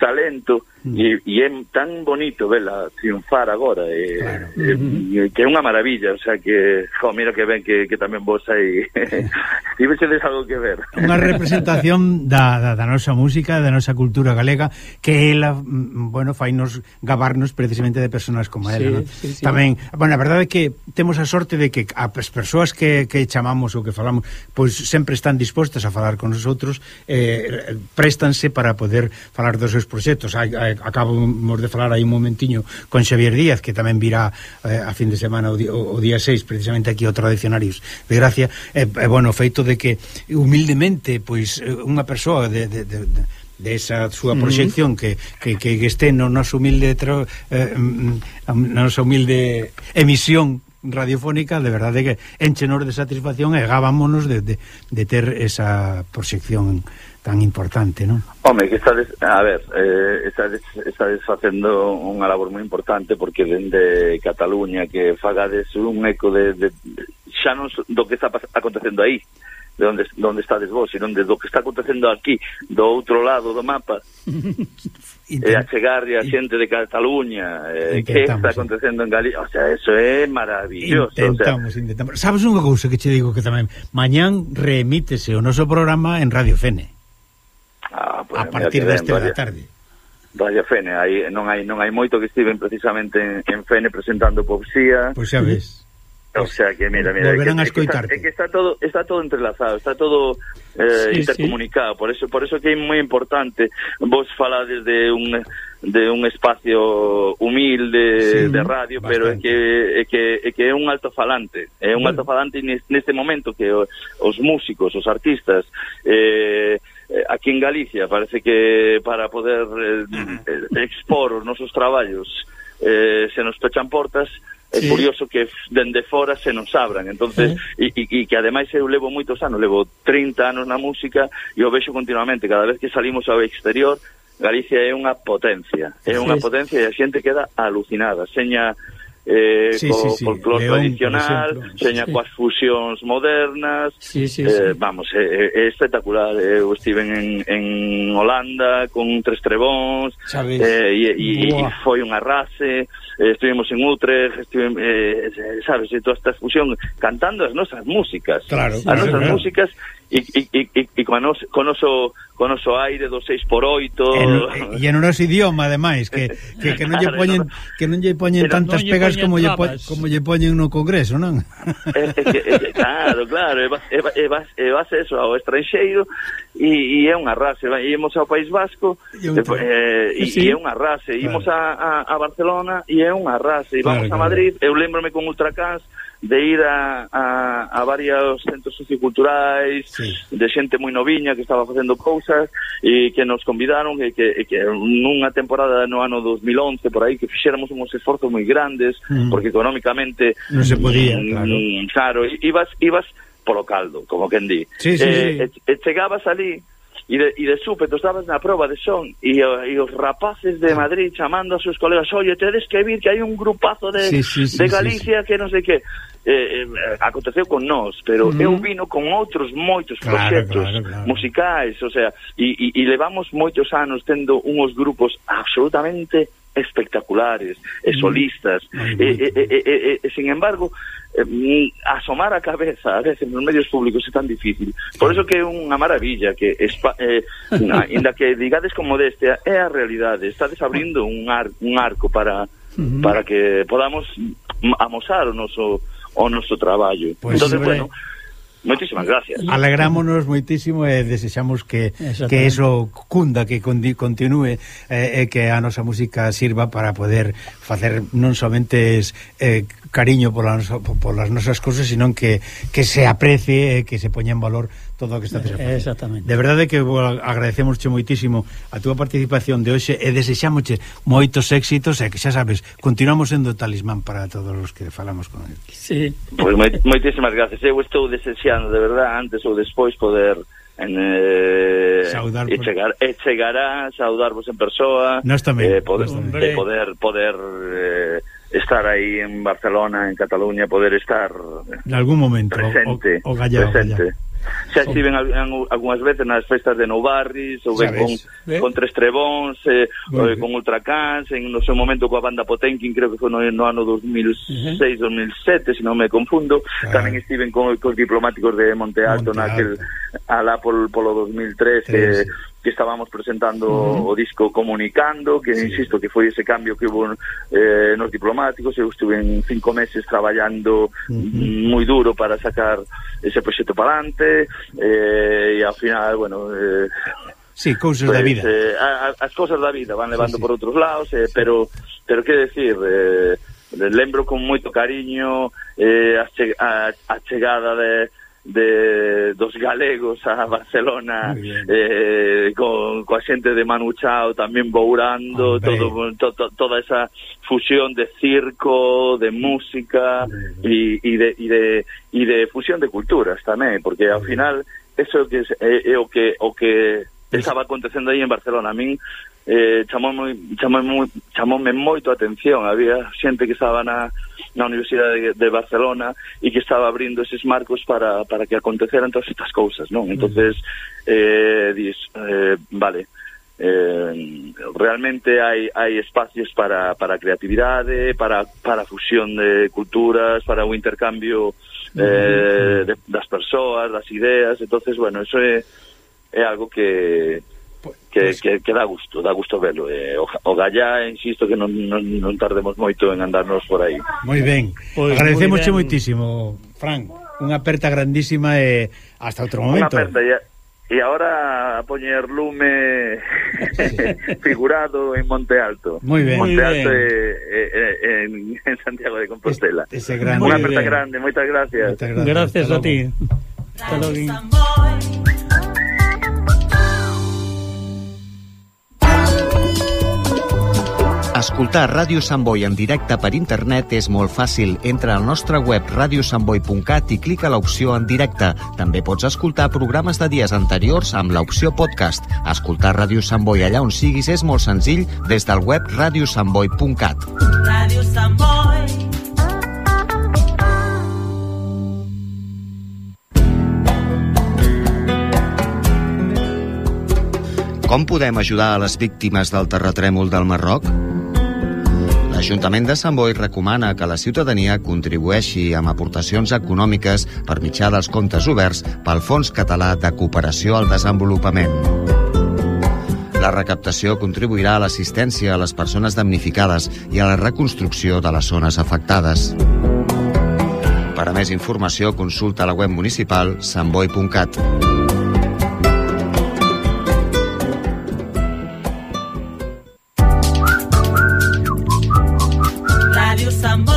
talento, e é tan bonito vela triunfar agora, que é unha maravilla. O sea que, mira que ben que tamén vos aí tivesedes algo que ver. Unha representación da nosa música, da nosa cultura galega, que ela, fainos gabarnos precisamente de personas como ela, tamén, a verdade é que temos a sorte de que as persoas que chamamos ou que falamos, pois sempre están dispostas a falar con nosotros, préstanse para poder falar dos seus proxectos. Acabamos de falar aí un momentiño con Xavier Díaz, que tamén virá a fin de semana o día 6, precisamente aquí ao Tradicionarios de Gracia. O feito de que humildemente, pois, unha persoa de esa súa proxección que este no noso humilde emisión radiofónica, de verdade que enchenos de satisfacción e gábamonos de ter esa proxección tan importante, non? Home, que estades facendo unha labor moi importante, porque dende Cataluña que fagades un eco de xa non do que está acontecendo aí, de onde estades vos, e do que está acontecendo aquí, do outro lado do mapa, e a chegar a xente de Cataluña, que está acontecendo en Galicia. O sea, eso é maravilloso. Intentamos. Sabes unha cousa que che digo, que tamén mañán reemítese o noso programa en Radio Fene. Pues, a partir deste da tarde. Radio Fene, non hai moito que estiven precisamente en Fene presentando Popsía. Pois xa ves. O sea que mira, volverán a escoitarte. É que está todo entrelazado, está todo intercomunicado. Por eso que é moi importante vos falades de un espacio humilde de radio, bastante. Pero é que é un altofalante, neste momento que os músicos, os artistas, aquí en Galicia parece que para poder expor os nosos traballos se nos pechan portas. É curioso que dende fora se nos abran, entonces e que ademais eu levo moitos anos, levo 30 anos na música e o vexo continuamente, cada vez que salimos ao exterior, Galicia é unha potencia e a xente queda alucinada, seña folclore tradicional, seña coas fusións modernas, vamos, é espectacular. Eu estive en Holanda con Tres Trebóns e foi un arrase, estivemos en Utrecht, sabes, toda esta fusión cantando as nosas músicas, músicas e con o noso aire do 6x8 e no noso idioma, ademais, que non lle poñen tantas pegas como lle poñen no Congreso, non? Claro, e vas eso ao estranxeiro e é un arrase. Ímos ao País Vasco e é un arrase, ímos a Barcelona e é un arrase, e vamos a Madrid. Eu lembrome con Ultracans de ir a varios centros socioculturais, de xente moi noviña que estaba facendo cousas e que nos convidaron e que nunha temporada no ano 2011 por aí que fixéramos uns esforzos moi grandes porque económicamente non se podía, claro, ibas polo caldo, como quen di. E chegabas ali e de súpeto estabas na proba de son e os rapaces de Madrid chamando a seus colegas, oye, tedes que vir que hai un grupazo de Galicia que non sei que aconteceu con nós, pero eu vino con outros moitos proxectos musicais, o sea, e levamos moitos anos tendo uns grupos absolutamente espectaculares e solistas e sin embargo asomar a cabeza a veces nos medios públicos é tan difícil, por eso que é unha maravilla que ainda que digades con modestia é a realidade, estades abrindo un arco para que podamos amosar o noso traballo. Entonces, bueno, moitísimas gracias. Alegrámonos moitísimo e desexamos que eso cunda, que continúe e que a nosa música sirva para poder facer non somente cariño polas nosas cosas, sino que se aprecie e que se poña en valor todo o que está facendo. Exactamente. De verdade que agradecemosche moitísimo a túa participación de hoxe e desexámosche moitos éxitos e que xa sabes, continuamos sendo talismán para todos os que falamos con ele. Sí. Pois moitísimas gracias. Eu estou desexando de verdade antes ou despois poder chegará saudarvos en persoa, poder estar aí en Barcelona, en Cataluña, poder estar en algún momento presente. Xa estiven algunhas veces nas festas de Nou Barris, ou ben con Tres Trebóns, con Ultracans, en no seu momento coa banda Potenkin, creo que foi no ano 2006-2007, se non me confundo. Tamén estiven con os diplomáticos de Monte Alto naquel alá polo 2003 que estábamos presentando o disco Comunicando, que insisto que foi ese cambio que hubo nos diplomáticos. Eu estuve en 5 meses traballando moi duro para sacar ese proxecto para adelante e ao final, bueno, cousas da vida, as cousas da vida van levando por outros lados, pero que decir, lembro con moito cariño a chegada dos galegos a Barcelona, coa xente de Manu Chao tamén bourando, toda esa fusión de circo, de música e de fusión de culturas tamén, porque ao final eso é o que estaba acontecendo aí en Barcelona. A min chamoume moito a atención, había xente que estaba na Universidade de Barcelona e que estaba abrindo eses marcos para que aconteceran todas estas cousas, non? Entonces vale, realmente hai espacios para creatividade, para fusión de culturas, para o intercambio das persoas, das ideas. Entonces, bueno, eso é algo que dá gusto verlo. O gallá, insisto, que non tardemos moito en andarnos por aí. Moi ben, agradecemosche moitísimo, Fran, unha aperta grandísima e hasta outro momento. Unha aperta, e agora a poñer lume figurado en Monte Alto. Moi ben. Monte Alto en Santiago de Compostela. Unha aperta grande, moitas gracias. Gracias a ti. Hasta logo. Escoltar Ràdio Sant Boi en directe per internet és molt fàcil. Entra al nostre web radiosantboi.cat i clica l'opció en directe. També pots escoltar programes de dies anteriors amb l'opció podcast. Escoltar Ràdio Sant Boi allà on siguis és molt senzill des del web radiosantboi.cat. Ràdio Sant Boi. Com podem ajudar a les víctimes del terratrèmol del Marroc? L'Ajuntament de Sant Boi recomana que la ciutadania contribueixi amb aportacions econòmiques per mitjà dels comptes oberts pel Fons Català de Cooperació al Desenvolupament. La recaptació contribuirà a l'assistència a les persones damnificades i a la reconstrucció de les zones afectades. Per a més informació, consulta la web municipal santboi.cat. Ràdio Sant Boi.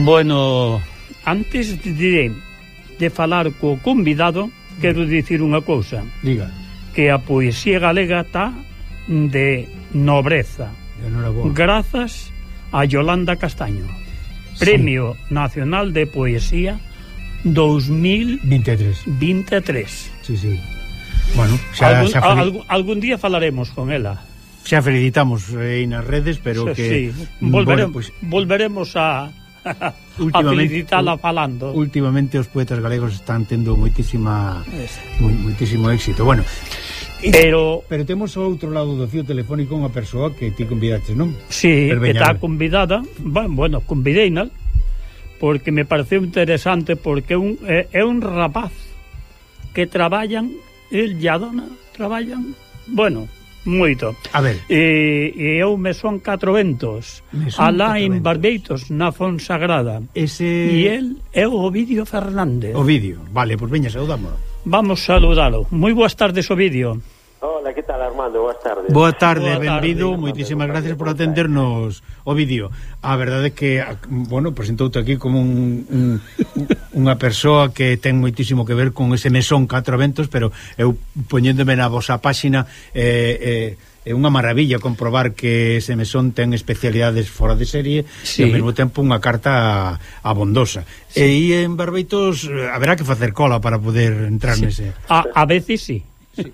Bueno, antes de falar co convidado, quero dicir unha cousa. Diga. Que a poesía galega está de nobreza. Grazas a Yolanda Castaño. Premio Nacional de Poesía 2023. Sí, sí. Bueno, algún día falaremos con ela. Xa felicitamos nas redes, pero que... Sí. Volveremos a felicitala falando. Últimamente os poetas galegos están tendo moitísimo éxito. Bueno, pero temos ao outro lado do fío telefónico unha persoa que ti convidaste, non? Sí, que está convidada. Bueno, convideina porque me pareceu interesante, porque é un rapaz que traballan, el e a dona traballan, bueno, moito. A ver. E eu me son 4 ventos. Alá en Barbeitos, na Fonsagrada. E el é o Ovidio Fernández. Ovidio, vale, pois veña, saudamos. Vamos saludalo. Moi boas tardes, Ovidio. Hola, que tal, Armando? Boas tardes. Boa tarde, benvido. Moitísimas gracias por atendernos, Ovidio. A verdade é que, bueno, presentoute aquí como unha persoa que ten moitísimo que ver con ese mesón 4 ventos, pero eu poñéndome na vosa páxina é unha maravilla comprobar que ese mesón ten especialidades fora de serie, sí, e ao mesmo tempo unha carta abondosa. Sí. E en Barbeitos haberá que facer cola para poder entrar, sí, nese. A veces sí. Sí.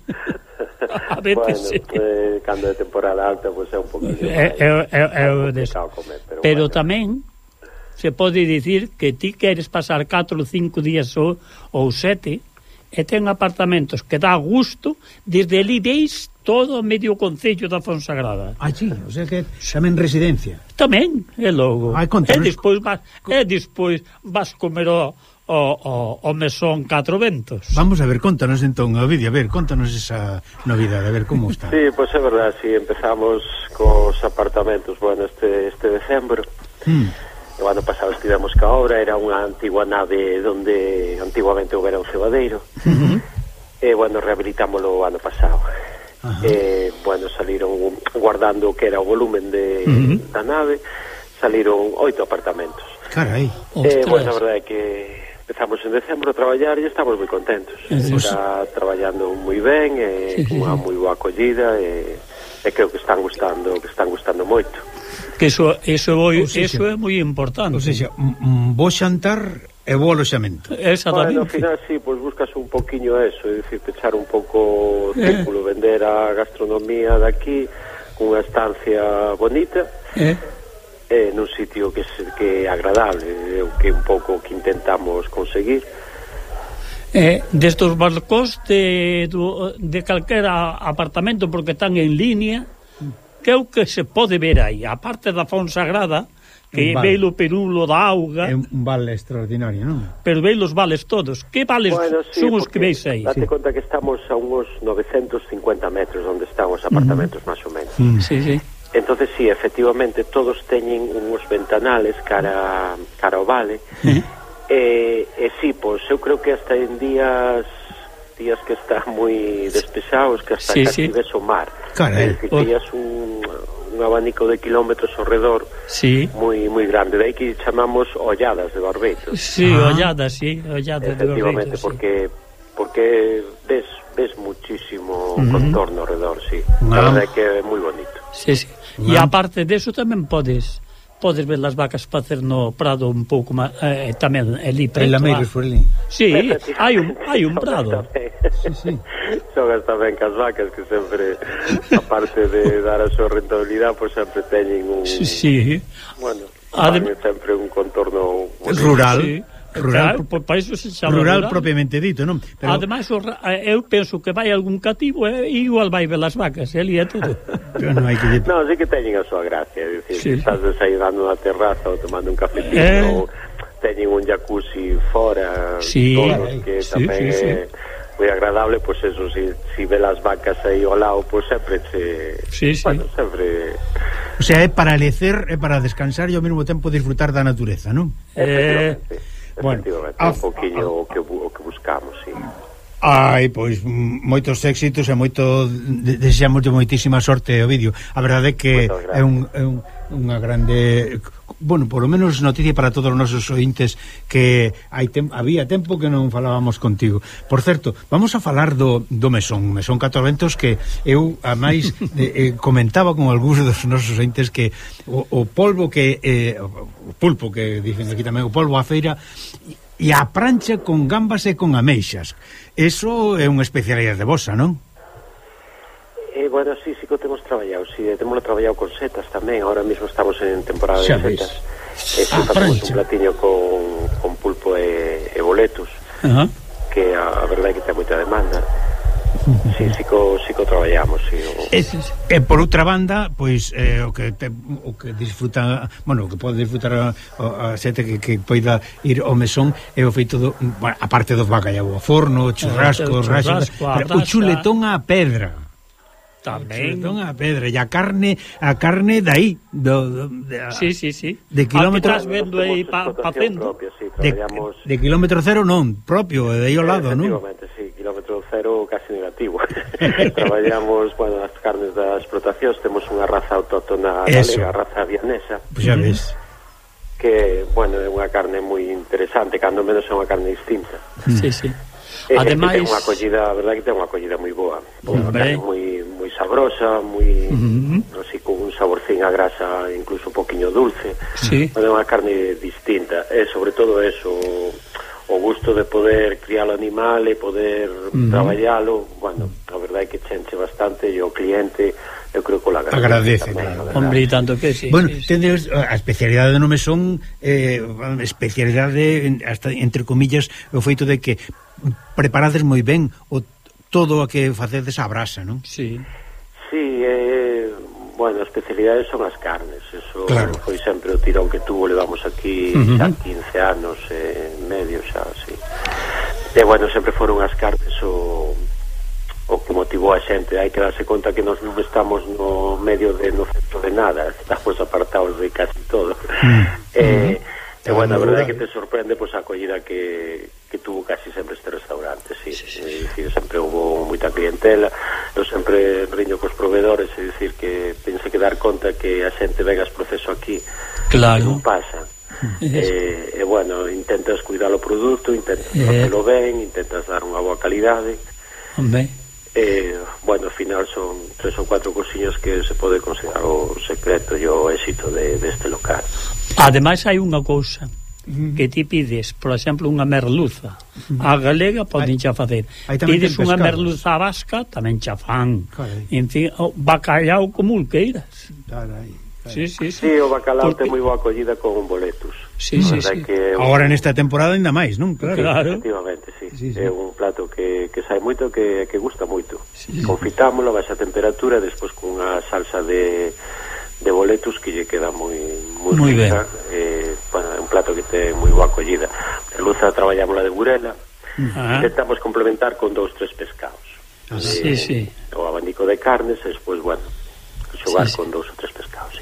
A veces sí. Cando é temporada alta, pois é un poquinho complicado comer, pero bueno. Tamén se pode dicir que ti queres pasar 4 ou 5 días ou 7 e ten apartamentos que dá gusto, desde ali veis todo o medio concello da Fonsagrada. Allí, o sea que tamén residencia. Tamén, é logo. E despois vas comer o mesón 4 ventos. Vamos a ver, contanos entón, Ovidio, a ver, contanos esa novidade, a ver como está. Sí, pois é verdade, si empezamos cos apartamentos, bueno, este decembro. O ano pasado estivemos ca obra, era unha antigua nave onde antiguamente houbera un cebadeiro. bueno, rehabilitámoslo o ano pasado. Bueno, saliron guardando o que era o volumen da nave, saliron 8 apartamentos. Carai. Bueno, a verdade é que empezamos en decembro a traballar e estamos moi contentos. Está traballando moi ben, unha moi boa acollida, e creo que están gustando moito. Que eso é moi importante. O sea, bo xantar e bo aloxamento. Bueno, ao final, sí, pues buscas un poquinho eso, é dicir, pechar un pouco o círculo, vender a gastronomía daqui, cunha estancia bonita, nun sitio que é agradable, é o que un pouco que intentamos conseguir. Destos barcos de calquera apartamento, porque están en línea, que é o que se pode ver aí, a parte da Fonsagrada, que veio o perulo da auga. É un vale extraordinario, non? Pero veio os vales todos. Que vales son os que veis aí? Date conta que estamos a unos 950 metros onde están os apartamentos, máis ou menos. Sí. Entonces, sí, efectivamente, todos teñen uns ventanales cara ao vale. E sí, pois, eu creo que hasta en días que están moi despexados, que hasta casi ves o mar. Carai. Que tenías un abanico de kilómetros ao redor moi grande, de aí que chamamos olladas de Barbeito. Sí, olladas de Barbeito. Efectivamente, porque ves muchísimo contorno ao redor, sí. A verdade é que é moi bonito. Sí. E aparte deso tamén podes ver as vacas facer no prado un pouco máis, tamén ali preto. Lameiros por ali. Sí, hai un prado. Sí. Xogas tamén cas vacas, que sempre, aparte de dar a súa rentabilidade, pois sempre teñen un... Sí. Bueno, sempre un contorno... Rural. Sí. Rural, para iso se chama rural propiamente dito, non? Pero... Ademais, eu penso que vai algún cativo e igual vai ver as vacas, ali é todo. No, sí que teñen a súa gracia, é dicir, estás desayunando na terraza ou tomando un cafetino, ou teñen un jacuzzi fora, todos, que tamén é moi agradable, pois eso, si ve las vacas aí ao lado, pois sempre bueno, sempre... O sea, é para lecer, é para descansar e ao mesmo tempo disfrutar da natureza, non? Efectivamente, un poquinho o que buscamos, sí. Pois moitos éxitos e desexamos moitísima sorte ao vídeo. A verdade é que é unha grande, bueno, por lo menos noticia para todos os nosos ointes, que había tempo que non falábamos contigo. Por certo, vamos a falar do Mesón 4 Ventos, que eu a máis comentaba con algúns dos nosos ointes que o polvo o pulpo, que dicen aquí tamén, o polvo a feira e a prancha con gambas e con ameixas. Eso é unha especialidade vosa, non? Bueno, sí que o temos traballado, temos traballado con setas tamén, ahora mesmo estamos en temporada de setas. Facemos un platiño con pulpo e boletos, que a verdade é que ten moita demanda. Sí que o traballamos, sí. E por outra banda, pois o que disfruta, bueno, o que pode disfrutar a xente que poida ir ao Mesón é o feito a parte dos bacallau ao forno, churrasco, o chuletón á pedra. Tamén a pedra e a carne dai sí. De kilómetro vendo aí facendo de kilómetro cero non, propio, de aí ao lado, non? Efectivamente, sí, kilómetro cero casi negativo. Traballamos, bueno, as carnes das explotacións, temos unha raza autóctona galega, a raza vianesa. Pois xa ves. Que, bueno, é unha carne moi interesante, cando menos é unha carne distinta. Sí. Ademais, ten unha acollida, a verdade que ten unha acollida moi boa, unha carne moi sabrosa, moi así con un saborcín a grasa, incluso un poquinho dulce. É unha carne distinta, e sobre todo eso, o gusto de poder criar o animal e poder traballalo, bueno, a verdade é que chenche bastante, e o cliente eu creo que o agradece hombre, tanto que sí. Bueno, tendes a especialidade do Mesón, especialidade hasta entre comillas, o feito de que preparades moi ben todo o que facedes a brasa, non? Sí, bueno, a especialidade son as carnes, eso foi sempre o tirón que tuvo, levamos aquí xa 15 anos e medio xa, sí. E bueno, sempre foron as carnes o que motivou a xente. Hai que darse conta que nós non estamos no medio no centro de nada, estamos apartados de casi todo. E bueno, a verdade é que te sorprende pois a acollida que tuvo casi sempre este restaurante, sí. É dicir, sempre hubo moita clientela, eu sempre riño cos proveedores, é dicir, que pense que dar conta que a xente venga as proceso aquí, claro, non pasa. E bueno, intentas cuidar o produto, intentas facelo ben, intentas dar unha boa calidade. Bueno, ao final son 3 ou 4 cosiñas que se pode considerar o secreto e o éxito deste local. Ademais hai unha cousa que ti pides, por exemplo, unha merluza a galega poden xa facer, pides unha merluza vasca tamén xa fan, en fin, bacalhau como o queiras. Sí, o bacalao ten moi boa acollida con boletus. Sí. Agora nesta temporada ainda máis, non? Claro. Efectivamente, sí. É un plato que sai moito, que gusta moito. Confitámolo a baixa temperatura, despois con unha salsa de boletus que lle queda moi rica. Bueno, é un plato que ten moi boa acollida. A luza traballámola de burela. Intentamos complementar con 2-3 pescados. O abanico de carnes, e despois, bueno, xogar con 2 ou 3 pescados,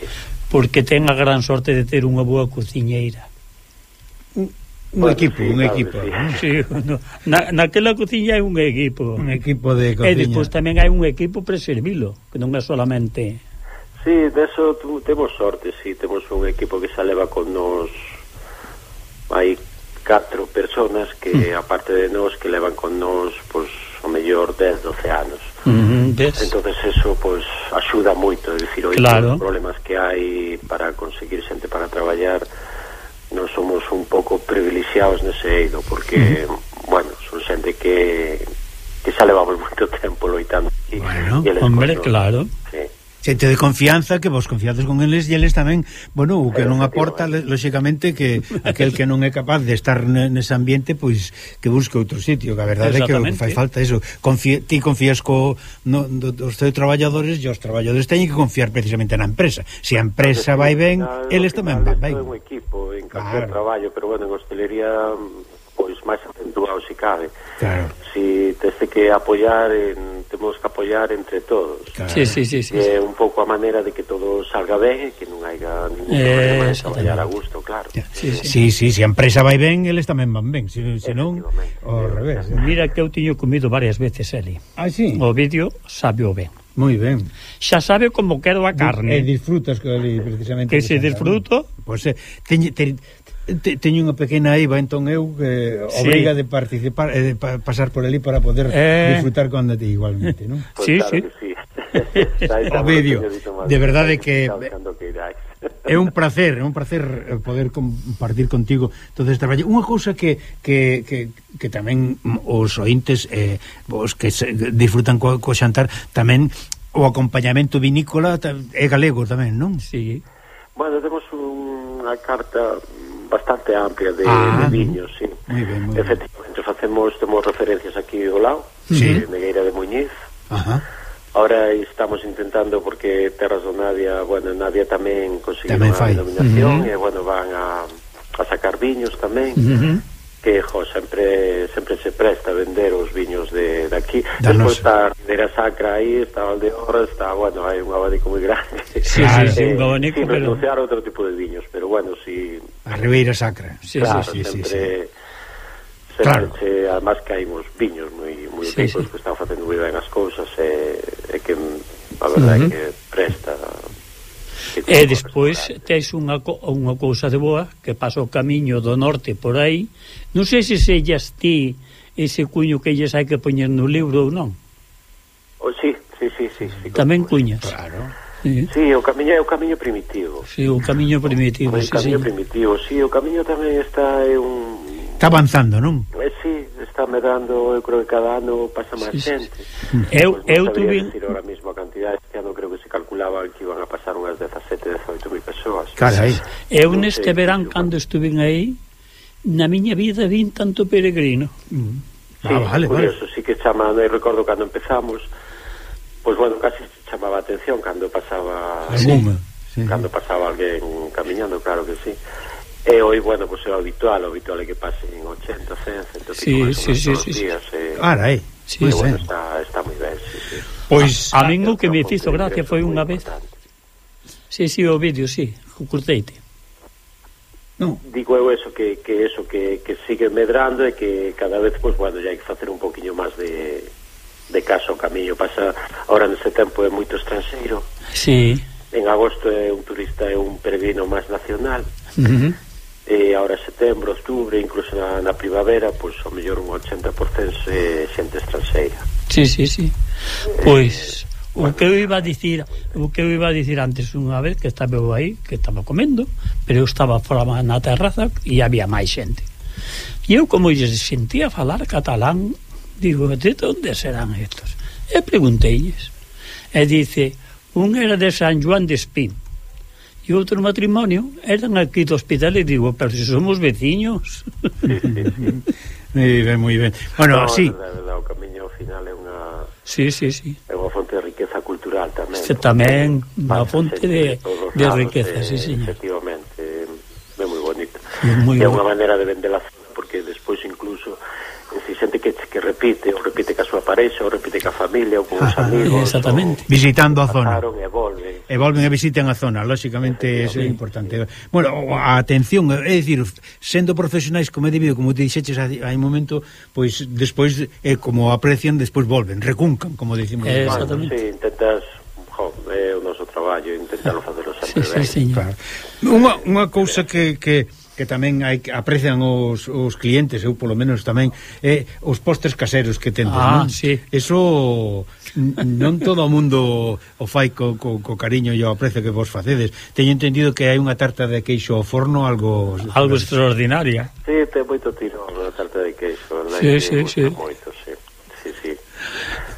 porque ten a gran sorte de ter unha boa cociñeira, un equipo. Sí, naquela cociña hai un equipo de cociña, e despois tamén hai un equipo para servilo, que non é solamente. Sí, deso temos sorte, sí, temos un equipo que se leva con nos, hai 4 personas que aparte de nos que levan con nos, pois o mellor 10-12 anos. Entonces eso pues axuda moito, é dicir, os problemas que hai para conseguir xente para traballar, non somos un pouco privilexiados nese eido, porque bueno, son xente que xa levamos moito tempo loitando aquí. Bueno, hombre, claro. Xente de confianza, que vos confiades con eles, e eles tamén, bueno, o que non aporta, lóxicamente, que aquel que non é capaz de estar nese ambiente, pois que busque outro sitio, que a verdade é que fai falta eso. Ti confías dos teus traballadores, e os traballadores teñen que confiar precisamente na empresa. Se a empresa vai ben, eles tamén van ben. É un equipo en calquer traballo, pero bueno, en hostelería pois máis acentuado se cabe. Si teste que apoiar, temos que apoiar entre todos. Sí. É un pouco a maneira de que todo salga ben, que non haiga ningún problema de traballar a gusto, claro. Sí, se a empresa vai ben, eles tamén van ben, se non, ao revés. Mira que eu tiño comido varias veces ali. O vídeo sabeo ben. Moi ben. Xa sabe como quero a carne. E disfrutas que ali precisamente. Que se disfruto. Pois teño unha pequena eiva, entón eu que obriga de participar, de pasar por ali para poder disfrutar con ti igualmente, non? Sí. O vídeo, de verdade que é un placer poder compartir contigo todo este traballo. Unha cousa que tamén os ointes os que disfrutan co xantar, tamén o acompañamento vinícola é galego tamén, non? Sí. Bueno, temos unha carta bastante amplia de viños, sí. Moi ben. Efectivamente, temos referencias aquí ao lado, de Megueira de Muñiz. Ahora estamos intentando, porque Terras do Nadia, bueno, Nadia tamén conseguiu unha denominación, e bueno, van a sacar viños tamén, que sempre se presta a vender os viños de aquí. Despois está a Ribeira Sacra aí, está Valdeorras, está, bueno, hai un abanico moi grande. Sí, un abanico, pero negociar outro tipo de viños, pero bueno, si a Ribeira Sacra. Claro, sempre además que hai uns viños moi ricos que están facendo moi ben as cousas, e que a verdade é que presta. E despois tes unha cousa de boa, que pasa o camiño do norte por aí. Non sei se sellas ti ese cuño que lles hai que poñer no libro ou non. Sí. Tamén cuñas. Claro. Sí, o camiño é o camiño primitivo. Sí, o camiño primitivo. O camiño primitivo, sí, o camiño tamén está Está avanzando, non? Sí, está medrando, eu creo que cada ano pasa máis xente. Eu tuve ahora mesmo a cantidade, este ano creo que se calculaba que iban a pasar unhas 17-18 mil persoas. Carai. Eu neste verán, cando estuve aí, na miña vida vin tanto peregrino. Sí, curioso, sí que chama, non recordo cando empezamos, pois bueno, casi chamaba a atención cando pasaba cando pasaba alguén camiñando, claro que sí. E hoy, bueno, pues é o habitual é que pasen 80, 100, 100 todos os días. Carai. Bueno, está moi ben, sí. Pois a min o que me fixo gracia foi unha vez. Sí, o vídeo, sí, curteite. digo eu eso que sigue medrando e que cada vez, pois, bueno, ya hai que facer un poquinho máis de caso ao camiño. Pasa, ahora nese tempo é moito estranxeiro. Sí. En agosto é un turista, é un peregrino máis nacional. E ahora setembro, outubro, incluso na primavera, pois ao mellor un 80% é xente estranxeira. Sí. Pois o que eu iba a dicir antes, unha vez que estaba eu aí, que estaba comendo, pero eu estaba fora na terraza e había máis xente. E eu, como lles sentía falar catalán, digo, de onde serán estos? E pregunteilles. E dice, un era de San Joan de Espín e outro matrimonio eran aquí do hospital, e digo, pero se somos veciños. Moi ben. Bueno, sí. O camiño ao final é unha... Sí. É unha fonte de riqueza cultural tamén. Tamén, unha fonte de riqueza, sí, señor. Efectivamente, é moi bonito. É unha maneira de vender a zona, porque despois incluso si xente que repite, ou repite ca súa parexa, ou repite ca familia, ou con os amigos, exactamente, visitando a zona, e volven e visiten a zona, lógicamente eso é importante. Bueno, a atención, é dicir, sendo profesionais como é debido, como te dixeches hai un momento, pois despois como aprecian, despois volven, recuncan, como dicimos. Exactamente. Sí, intentas, é o noso traballo, intentarlo facelo sempre ben. Sí, claro. Unha cousa que tamén aprecian os clientes, eu polo menos tamén, os postres caseros que tendes, non? Sí. Eso non todo o mundo o fai co cariño e o aprecio que vos facedes. Teño entendido que hai unha tarta de queixo ao forno algo extraordinaria. Sí, ten moito tiro a tarta de queixo. Sí. Moito, sí.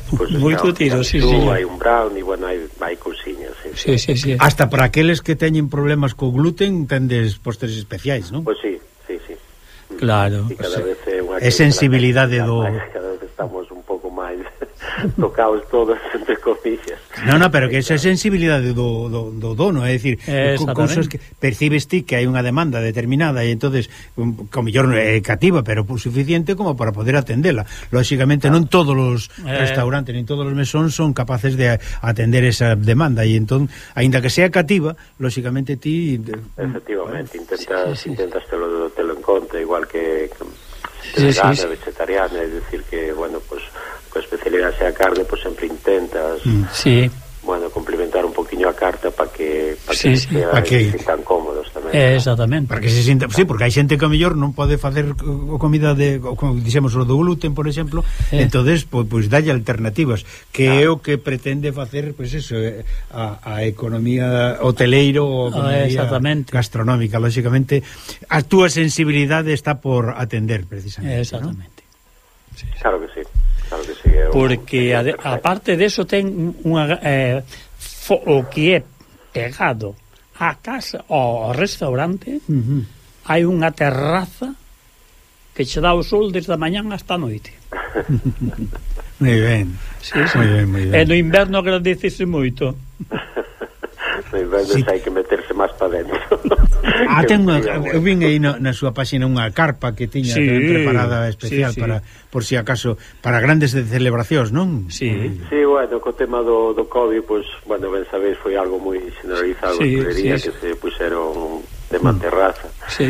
Pues moito tiro, sí, señor. Hai un brownie, bueno, hai cousiñas, sí. Hasta para aqueles que teñen problemas co gluten tendes postres especiais, non? Pois sí. Claro. E cada vez é sensibilidade do... Cada vez estamos un pouco máis tocados todos, entre comillas. No, pero que esa é sensibilidade do dono, é dicir, cousas que percibes ti que hai unha demanda determinada e entonces como mellor é cativa, pero suficiente como para poder atendela. Lógicamente non todos os restaurantes nin todos os mesóns son capaces de atender esa demanda e entón, aínda que sea cativa, lógicamente ti... Efectivamente, intentas telo en conta, igual que vegana, vegetariana, é dicir que, bueno, pues coa especialidade sea carne, pues sempre intentas bueno, complementar un poquinho a carta para que se sintan cómodos tamén. Exactamente. Para que se sinta, sí, porque hai xente que a mellor non pode facer comida como dixemos o do gluten, por exemplo, entonces pois dalle alternativas, que é o que pretende facer, pois eso, a economía hoteleiro ou a economía gastronómica, lógicamente a túa sensibilidade está por atender precisamente. Exactamente. ¿No? Sí. Claro que sí. Porque aparte de eso ten unha o que é pegado a casa ao restaurante, hai unha terraza que che dá o sol desde a mañán hasta a noite. Moi ben. Sí. Moi ben. E no inverno agradecese moito. No inverno hai que meterse máis para dentro. Eu vin aí na súa página unha carpa que tiña preparada especial para, por si acaso, para grandes celebracións, non? Sí, bueno, co tema do COVID, pues, bueno, ben sabéis, foi algo moi generalizado, que se puxeron de terraza. Sí.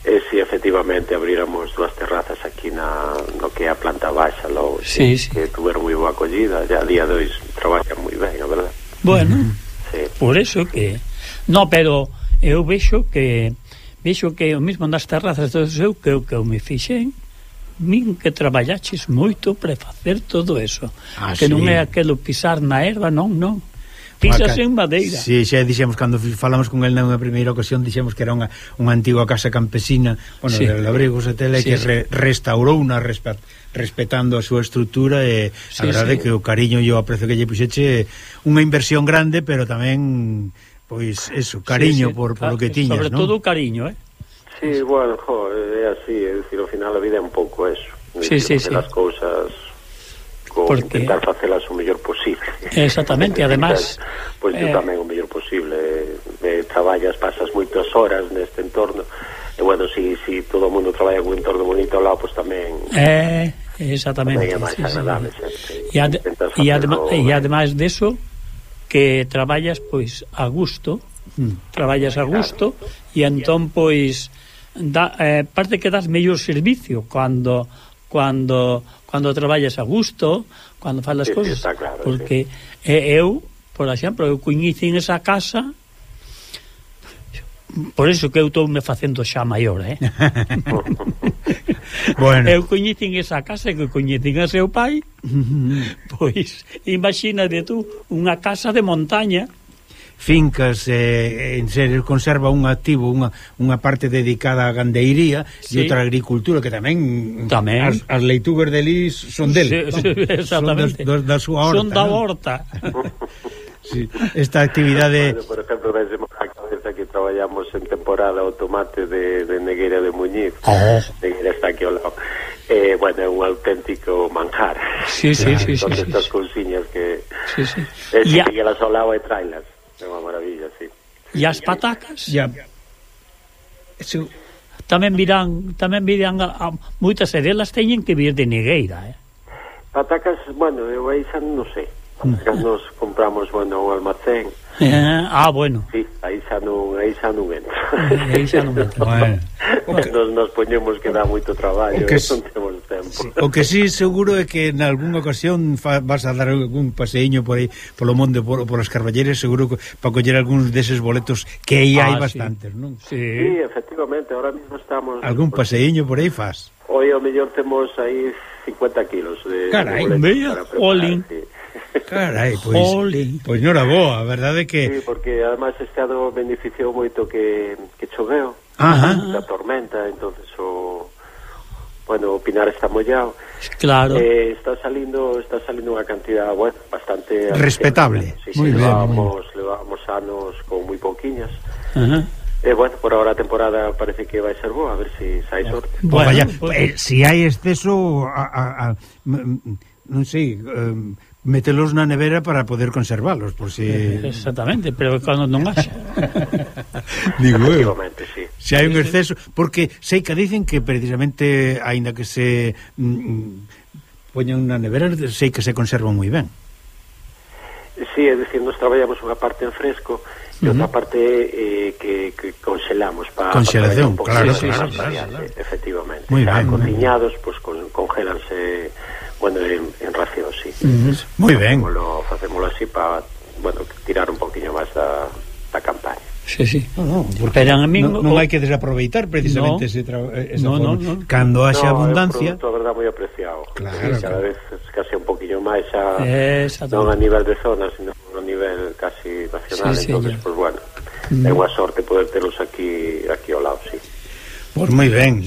E si efectivamente abríramos dúas terrazas aquí no que é a planta baixa, que tuveron moi boa acollida, ya a día de hoxe traballan moi ben, a verdade. Bueno, por eso que... No, pero eu vexo que o mismo nas terrazas do seu que eu me fixen, min que traballaches moito para facer todo eso, que non é aquelo pisar na erva, non. Pisas en madeira. Sí, xa dixemos, cando falamos con el na primeira ocasión, dixemos que era unha antiga casa campesina, bueno, de Labregos e Tele, que restaurouna respetando a súa estrutura, e a verdade que o cariño e o aprecio que lle puxeche unha inversión grande, pero tamén, pois, eso, cariño por o que tiñas, sobre todo o cariño, Sí, bueno, é así, é dicir, ao final a vida é un pouco eso. Sí. As cousas intentar facelas o mellor posible. Exactamente, e además pois eu tamén o mellor posible, traballas, pasas moitas horas neste entorno, e bueno, si todo o mundo traballa con un entorno bonito ao lado, pois tamén exactamente, tamén é máis agradable. E ademais deso, que traballas pois a gusto, e entón pois parte que das mellor servicio cando traballas a gusto, cando faz as cousas, claro, porque eu, por exemplo, eu coñecín esa casa, por iso que eu estou me facendo xa maior, Bueno. Eu coñecín esa casa que coñecín a seu pai, pois imagínate tú unha casa de montaña, fincas, en serio, conserva un activo, unha parte dedicada á gandeiría e outra agricultura que tamén. As leitugas de lis son del, exactamente, son da súa horta, son da horta. Sí, esta actividade. Por exemplo, vemos a cabeza que traballamos en temporada o tomate de Negueira de Muñiz. Negueira está aquí ao lado. Bueno, é un auténtico manjar. Sí. Son estas cousiñas que que las ao lado e trailas. É unha maravilla, sí. E as patacas? Tamén virán moitas delas teñen que vir de Negueira, Patacas, bueno, eu aí xa non sei. Patacas nos compramos, bueno, un almacén. Bueno. Sí, aí xa non entra. Aí xa non entra. Bueno. Nos poñemos que dá moito traballo, non temos tempo. O que sí seguro é que en algunha ocasión vas a dar algún paseíño por aí, polo monte, por as Carballeiras, seguro que para coller algúns deses boletos que aí hai bastantes, non? Sí, efectivamente, ahora mismo estamos... Algún paseíño por aí faz? Hoy ao mellor temos aí 50 kilos de boletos para preparar, sí. Carai, pois non era boa, a verdade é que... Sí, porque además este ano beneficiou moito que choveu, da tormenta, entonces o Pinar está mollado. Claro. Está salindo unha cantidad, bueno, bastante... respetable. Sí, levábamos anos con moi pouquiñas. Bueno, por ahora a temporada parece que vai ser boa, a ver se hai sorte. Si hai exceso, non sei... metelos na nevera para poder conservalos, por si... Exactamente, pero cando non haxa. Digo eu. Sí. Se hai un exceso, porque sei que dicen que precisamente, aínda que se poñan na nevera, sei que se conservan moi ben. Sí, é dicir, nos traballamos unha parte en fresco e outra parte que congelamos para congelación, claro, efectivamente. Muy ben, cociñados, pues congélanse, bueno, en ración, sí. Moi ben. Facémolo así para, bueno, tirar un poquinho máis da campaña. Sí. Porque non hai que desaproveitar precisamente esa forma. Cando haxa abundancia, é un produto, a verdad, moi apreciado. Claro, cada vez casi un poquinho máis non a nivel de zona, sino a nivel casi nacional. Entonces, pues bueno, é unha sorte poder telos aquí ao lado, sí. Pois moi ben,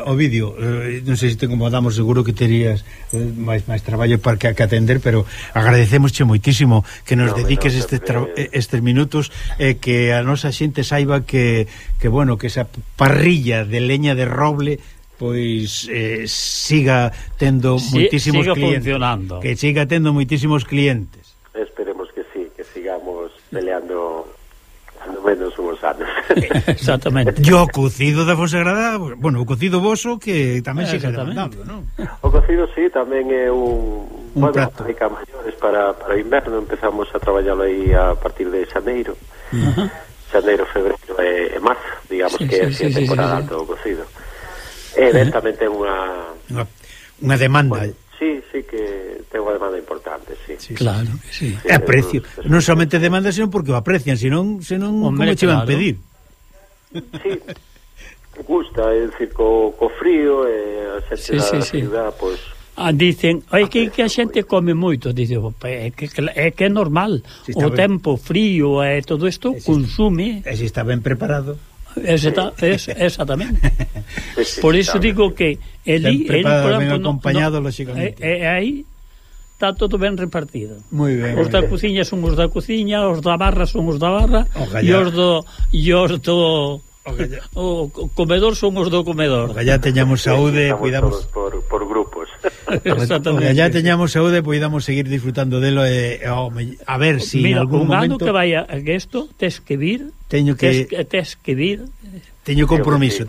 Ovidio, non sei se te incomodamos, seguro que terías máis traballo para que atender, pero agradecemosche moitísimo que nos dediques estes minutos e que a nosa xente saiba que bueno, que esa parrilla de leña de roble pois siga tendo moitísimos clientes, funcionando. Que siga tendo moitísimos clientes. Esperemos que sí, que sigamos peleando no menos uns anos. Exactamente. E o cocido da Fonsagrada, bueno, o cocido voso que tamén siga demandando, non? O cocido sí, tamén é un prato de maiores para o inverno. Empezamos a traballarlo aí a partir de xaneiro. Xaneiro, febreiro e marzo, digamos que é a temporada alta do cocido. E tamén ten unha demanda. Sí, que ten unha demanda importante, sí. Claro que sí. É precio, non somente demanda, senón porque o aprecian, senón como che van pedir. Sí, gusta, é dicir, co frío e a xente da ciudad, pois... dicen, que a xente come moito, dicen, é que é normal, o tempo frío e todo isto consume. E se está ben preparado. Exactamente. Por iso digo que el ben acompañado, lógicamente. Aí está todo ben repartido. Moi ben. Os da cociña son os da cociña, os da barra son os da barra, e os do o comedor son os do comedor. Ya teñamos saúde, cuidamos por grupos. Exactamente. Ya teñamos saúde, podamos seguir disfrutando delo a ver si en algún momento que vaya que isto tes que vir. Teño compromiso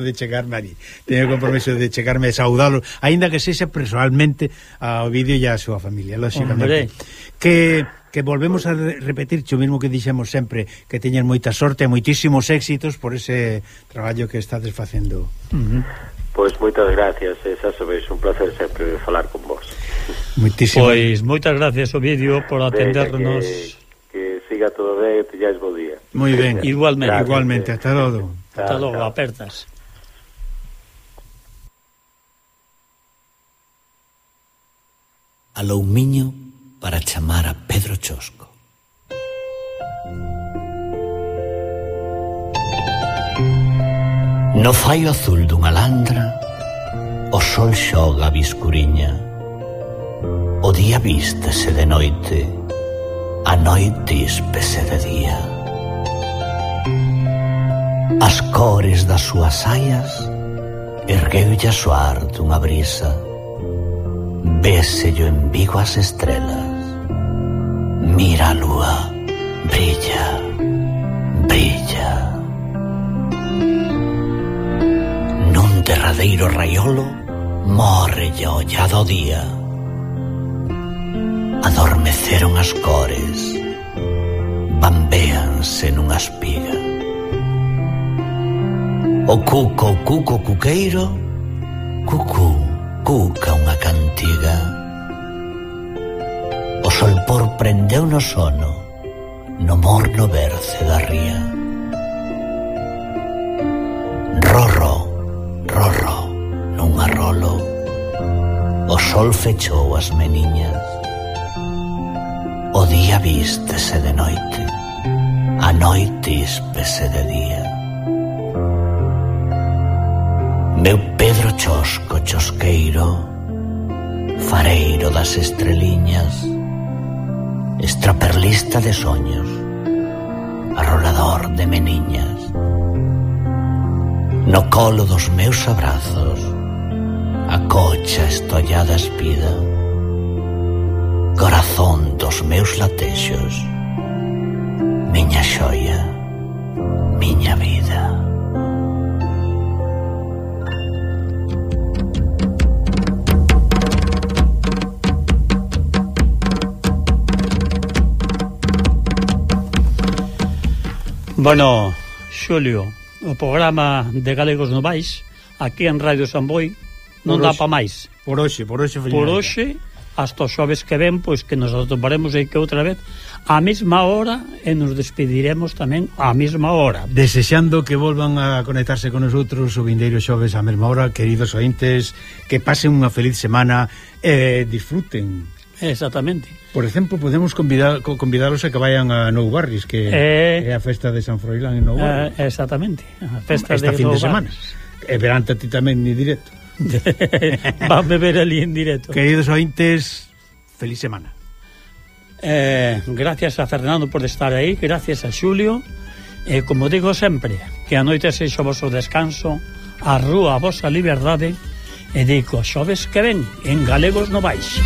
de chegarme ali. Teño compromiso de chegarme a saudalos, aínda que sexa personalmente ao vídeo e a súa familia, lógicamente. Que que volvemos a repetir o mismo que dixemos sempre, que teñen moita sorte e moitísimos éxitos por ese traballo que estades facendo. Pois moitas gracias, xa sabéis, un placer sempre falar con vos. Moitísimo. Pois moitas gracias, Ovidio, por atendernos. Que siga todo ben e teñáis bo día. Moi ben. Igualmente, hasta logo. Hasta logo, apertas. Alou miño para chamar a Pedro Chosco. No faio azul dunha landra, o sol xoga a biscuriña. O día vístese de noite, a noite íspese de día. As cores das súas saias ergueulle a soar dunha brisa. Vésello en Vigo as estrelas. Mira a lúa, brilla, brilla. Nun derradeiro raiolo morre lle ollado o día. Adormeceron as cores, bambéanse nunha espiga. O cuco cuqueiro, cucú, cuca unha cantiga. O solpor prendeu no sono, no morno berce da ría. Rorro, rorro, nun arrolo, o sol fechou as meniñas. O día vístese de noite, a noite íspese de día. Meu Pedro Chosco chosqueiro, fareiro das estreliñas, extraperlista de soños, arrolador de meniñas. No colo dos meus abrazos, a cocha estollada espida, corazón dos meus latexos, miña xoia, miña vida. Bueno, Xulio, o programa de Galegos Novais aquí en Radio Samboy non dá pa máis. Por hoxe, Por hoxe, hasta os xoves que ven, pois que nos atoparemos aí que outra vez á mesma hora e nos despediremos tamén á mesma hora. Desexando que volvan a conectarse con nosotros o vindeiro xoves á mesma hora, queridos ointes, que pasen unha feliz semana e disfruten. Exactamente. Por exemplo, podemos convidaros a que vayan a Nou Barris, que é a festa de San Froilán en Nou Barris. Exactamente, a festa esta de fin Nou de semana. E verante a ti tamén ni directo. Van beber ali en directo. Queridos ointes, feliz semana. Gracias a Fernando por estar aí, gracias a Xulio. Como digo sempre, que a noite sexa o vosso descanso, a rúa a vosa liberdade, e digo, xoves que ven en Galegos Novais.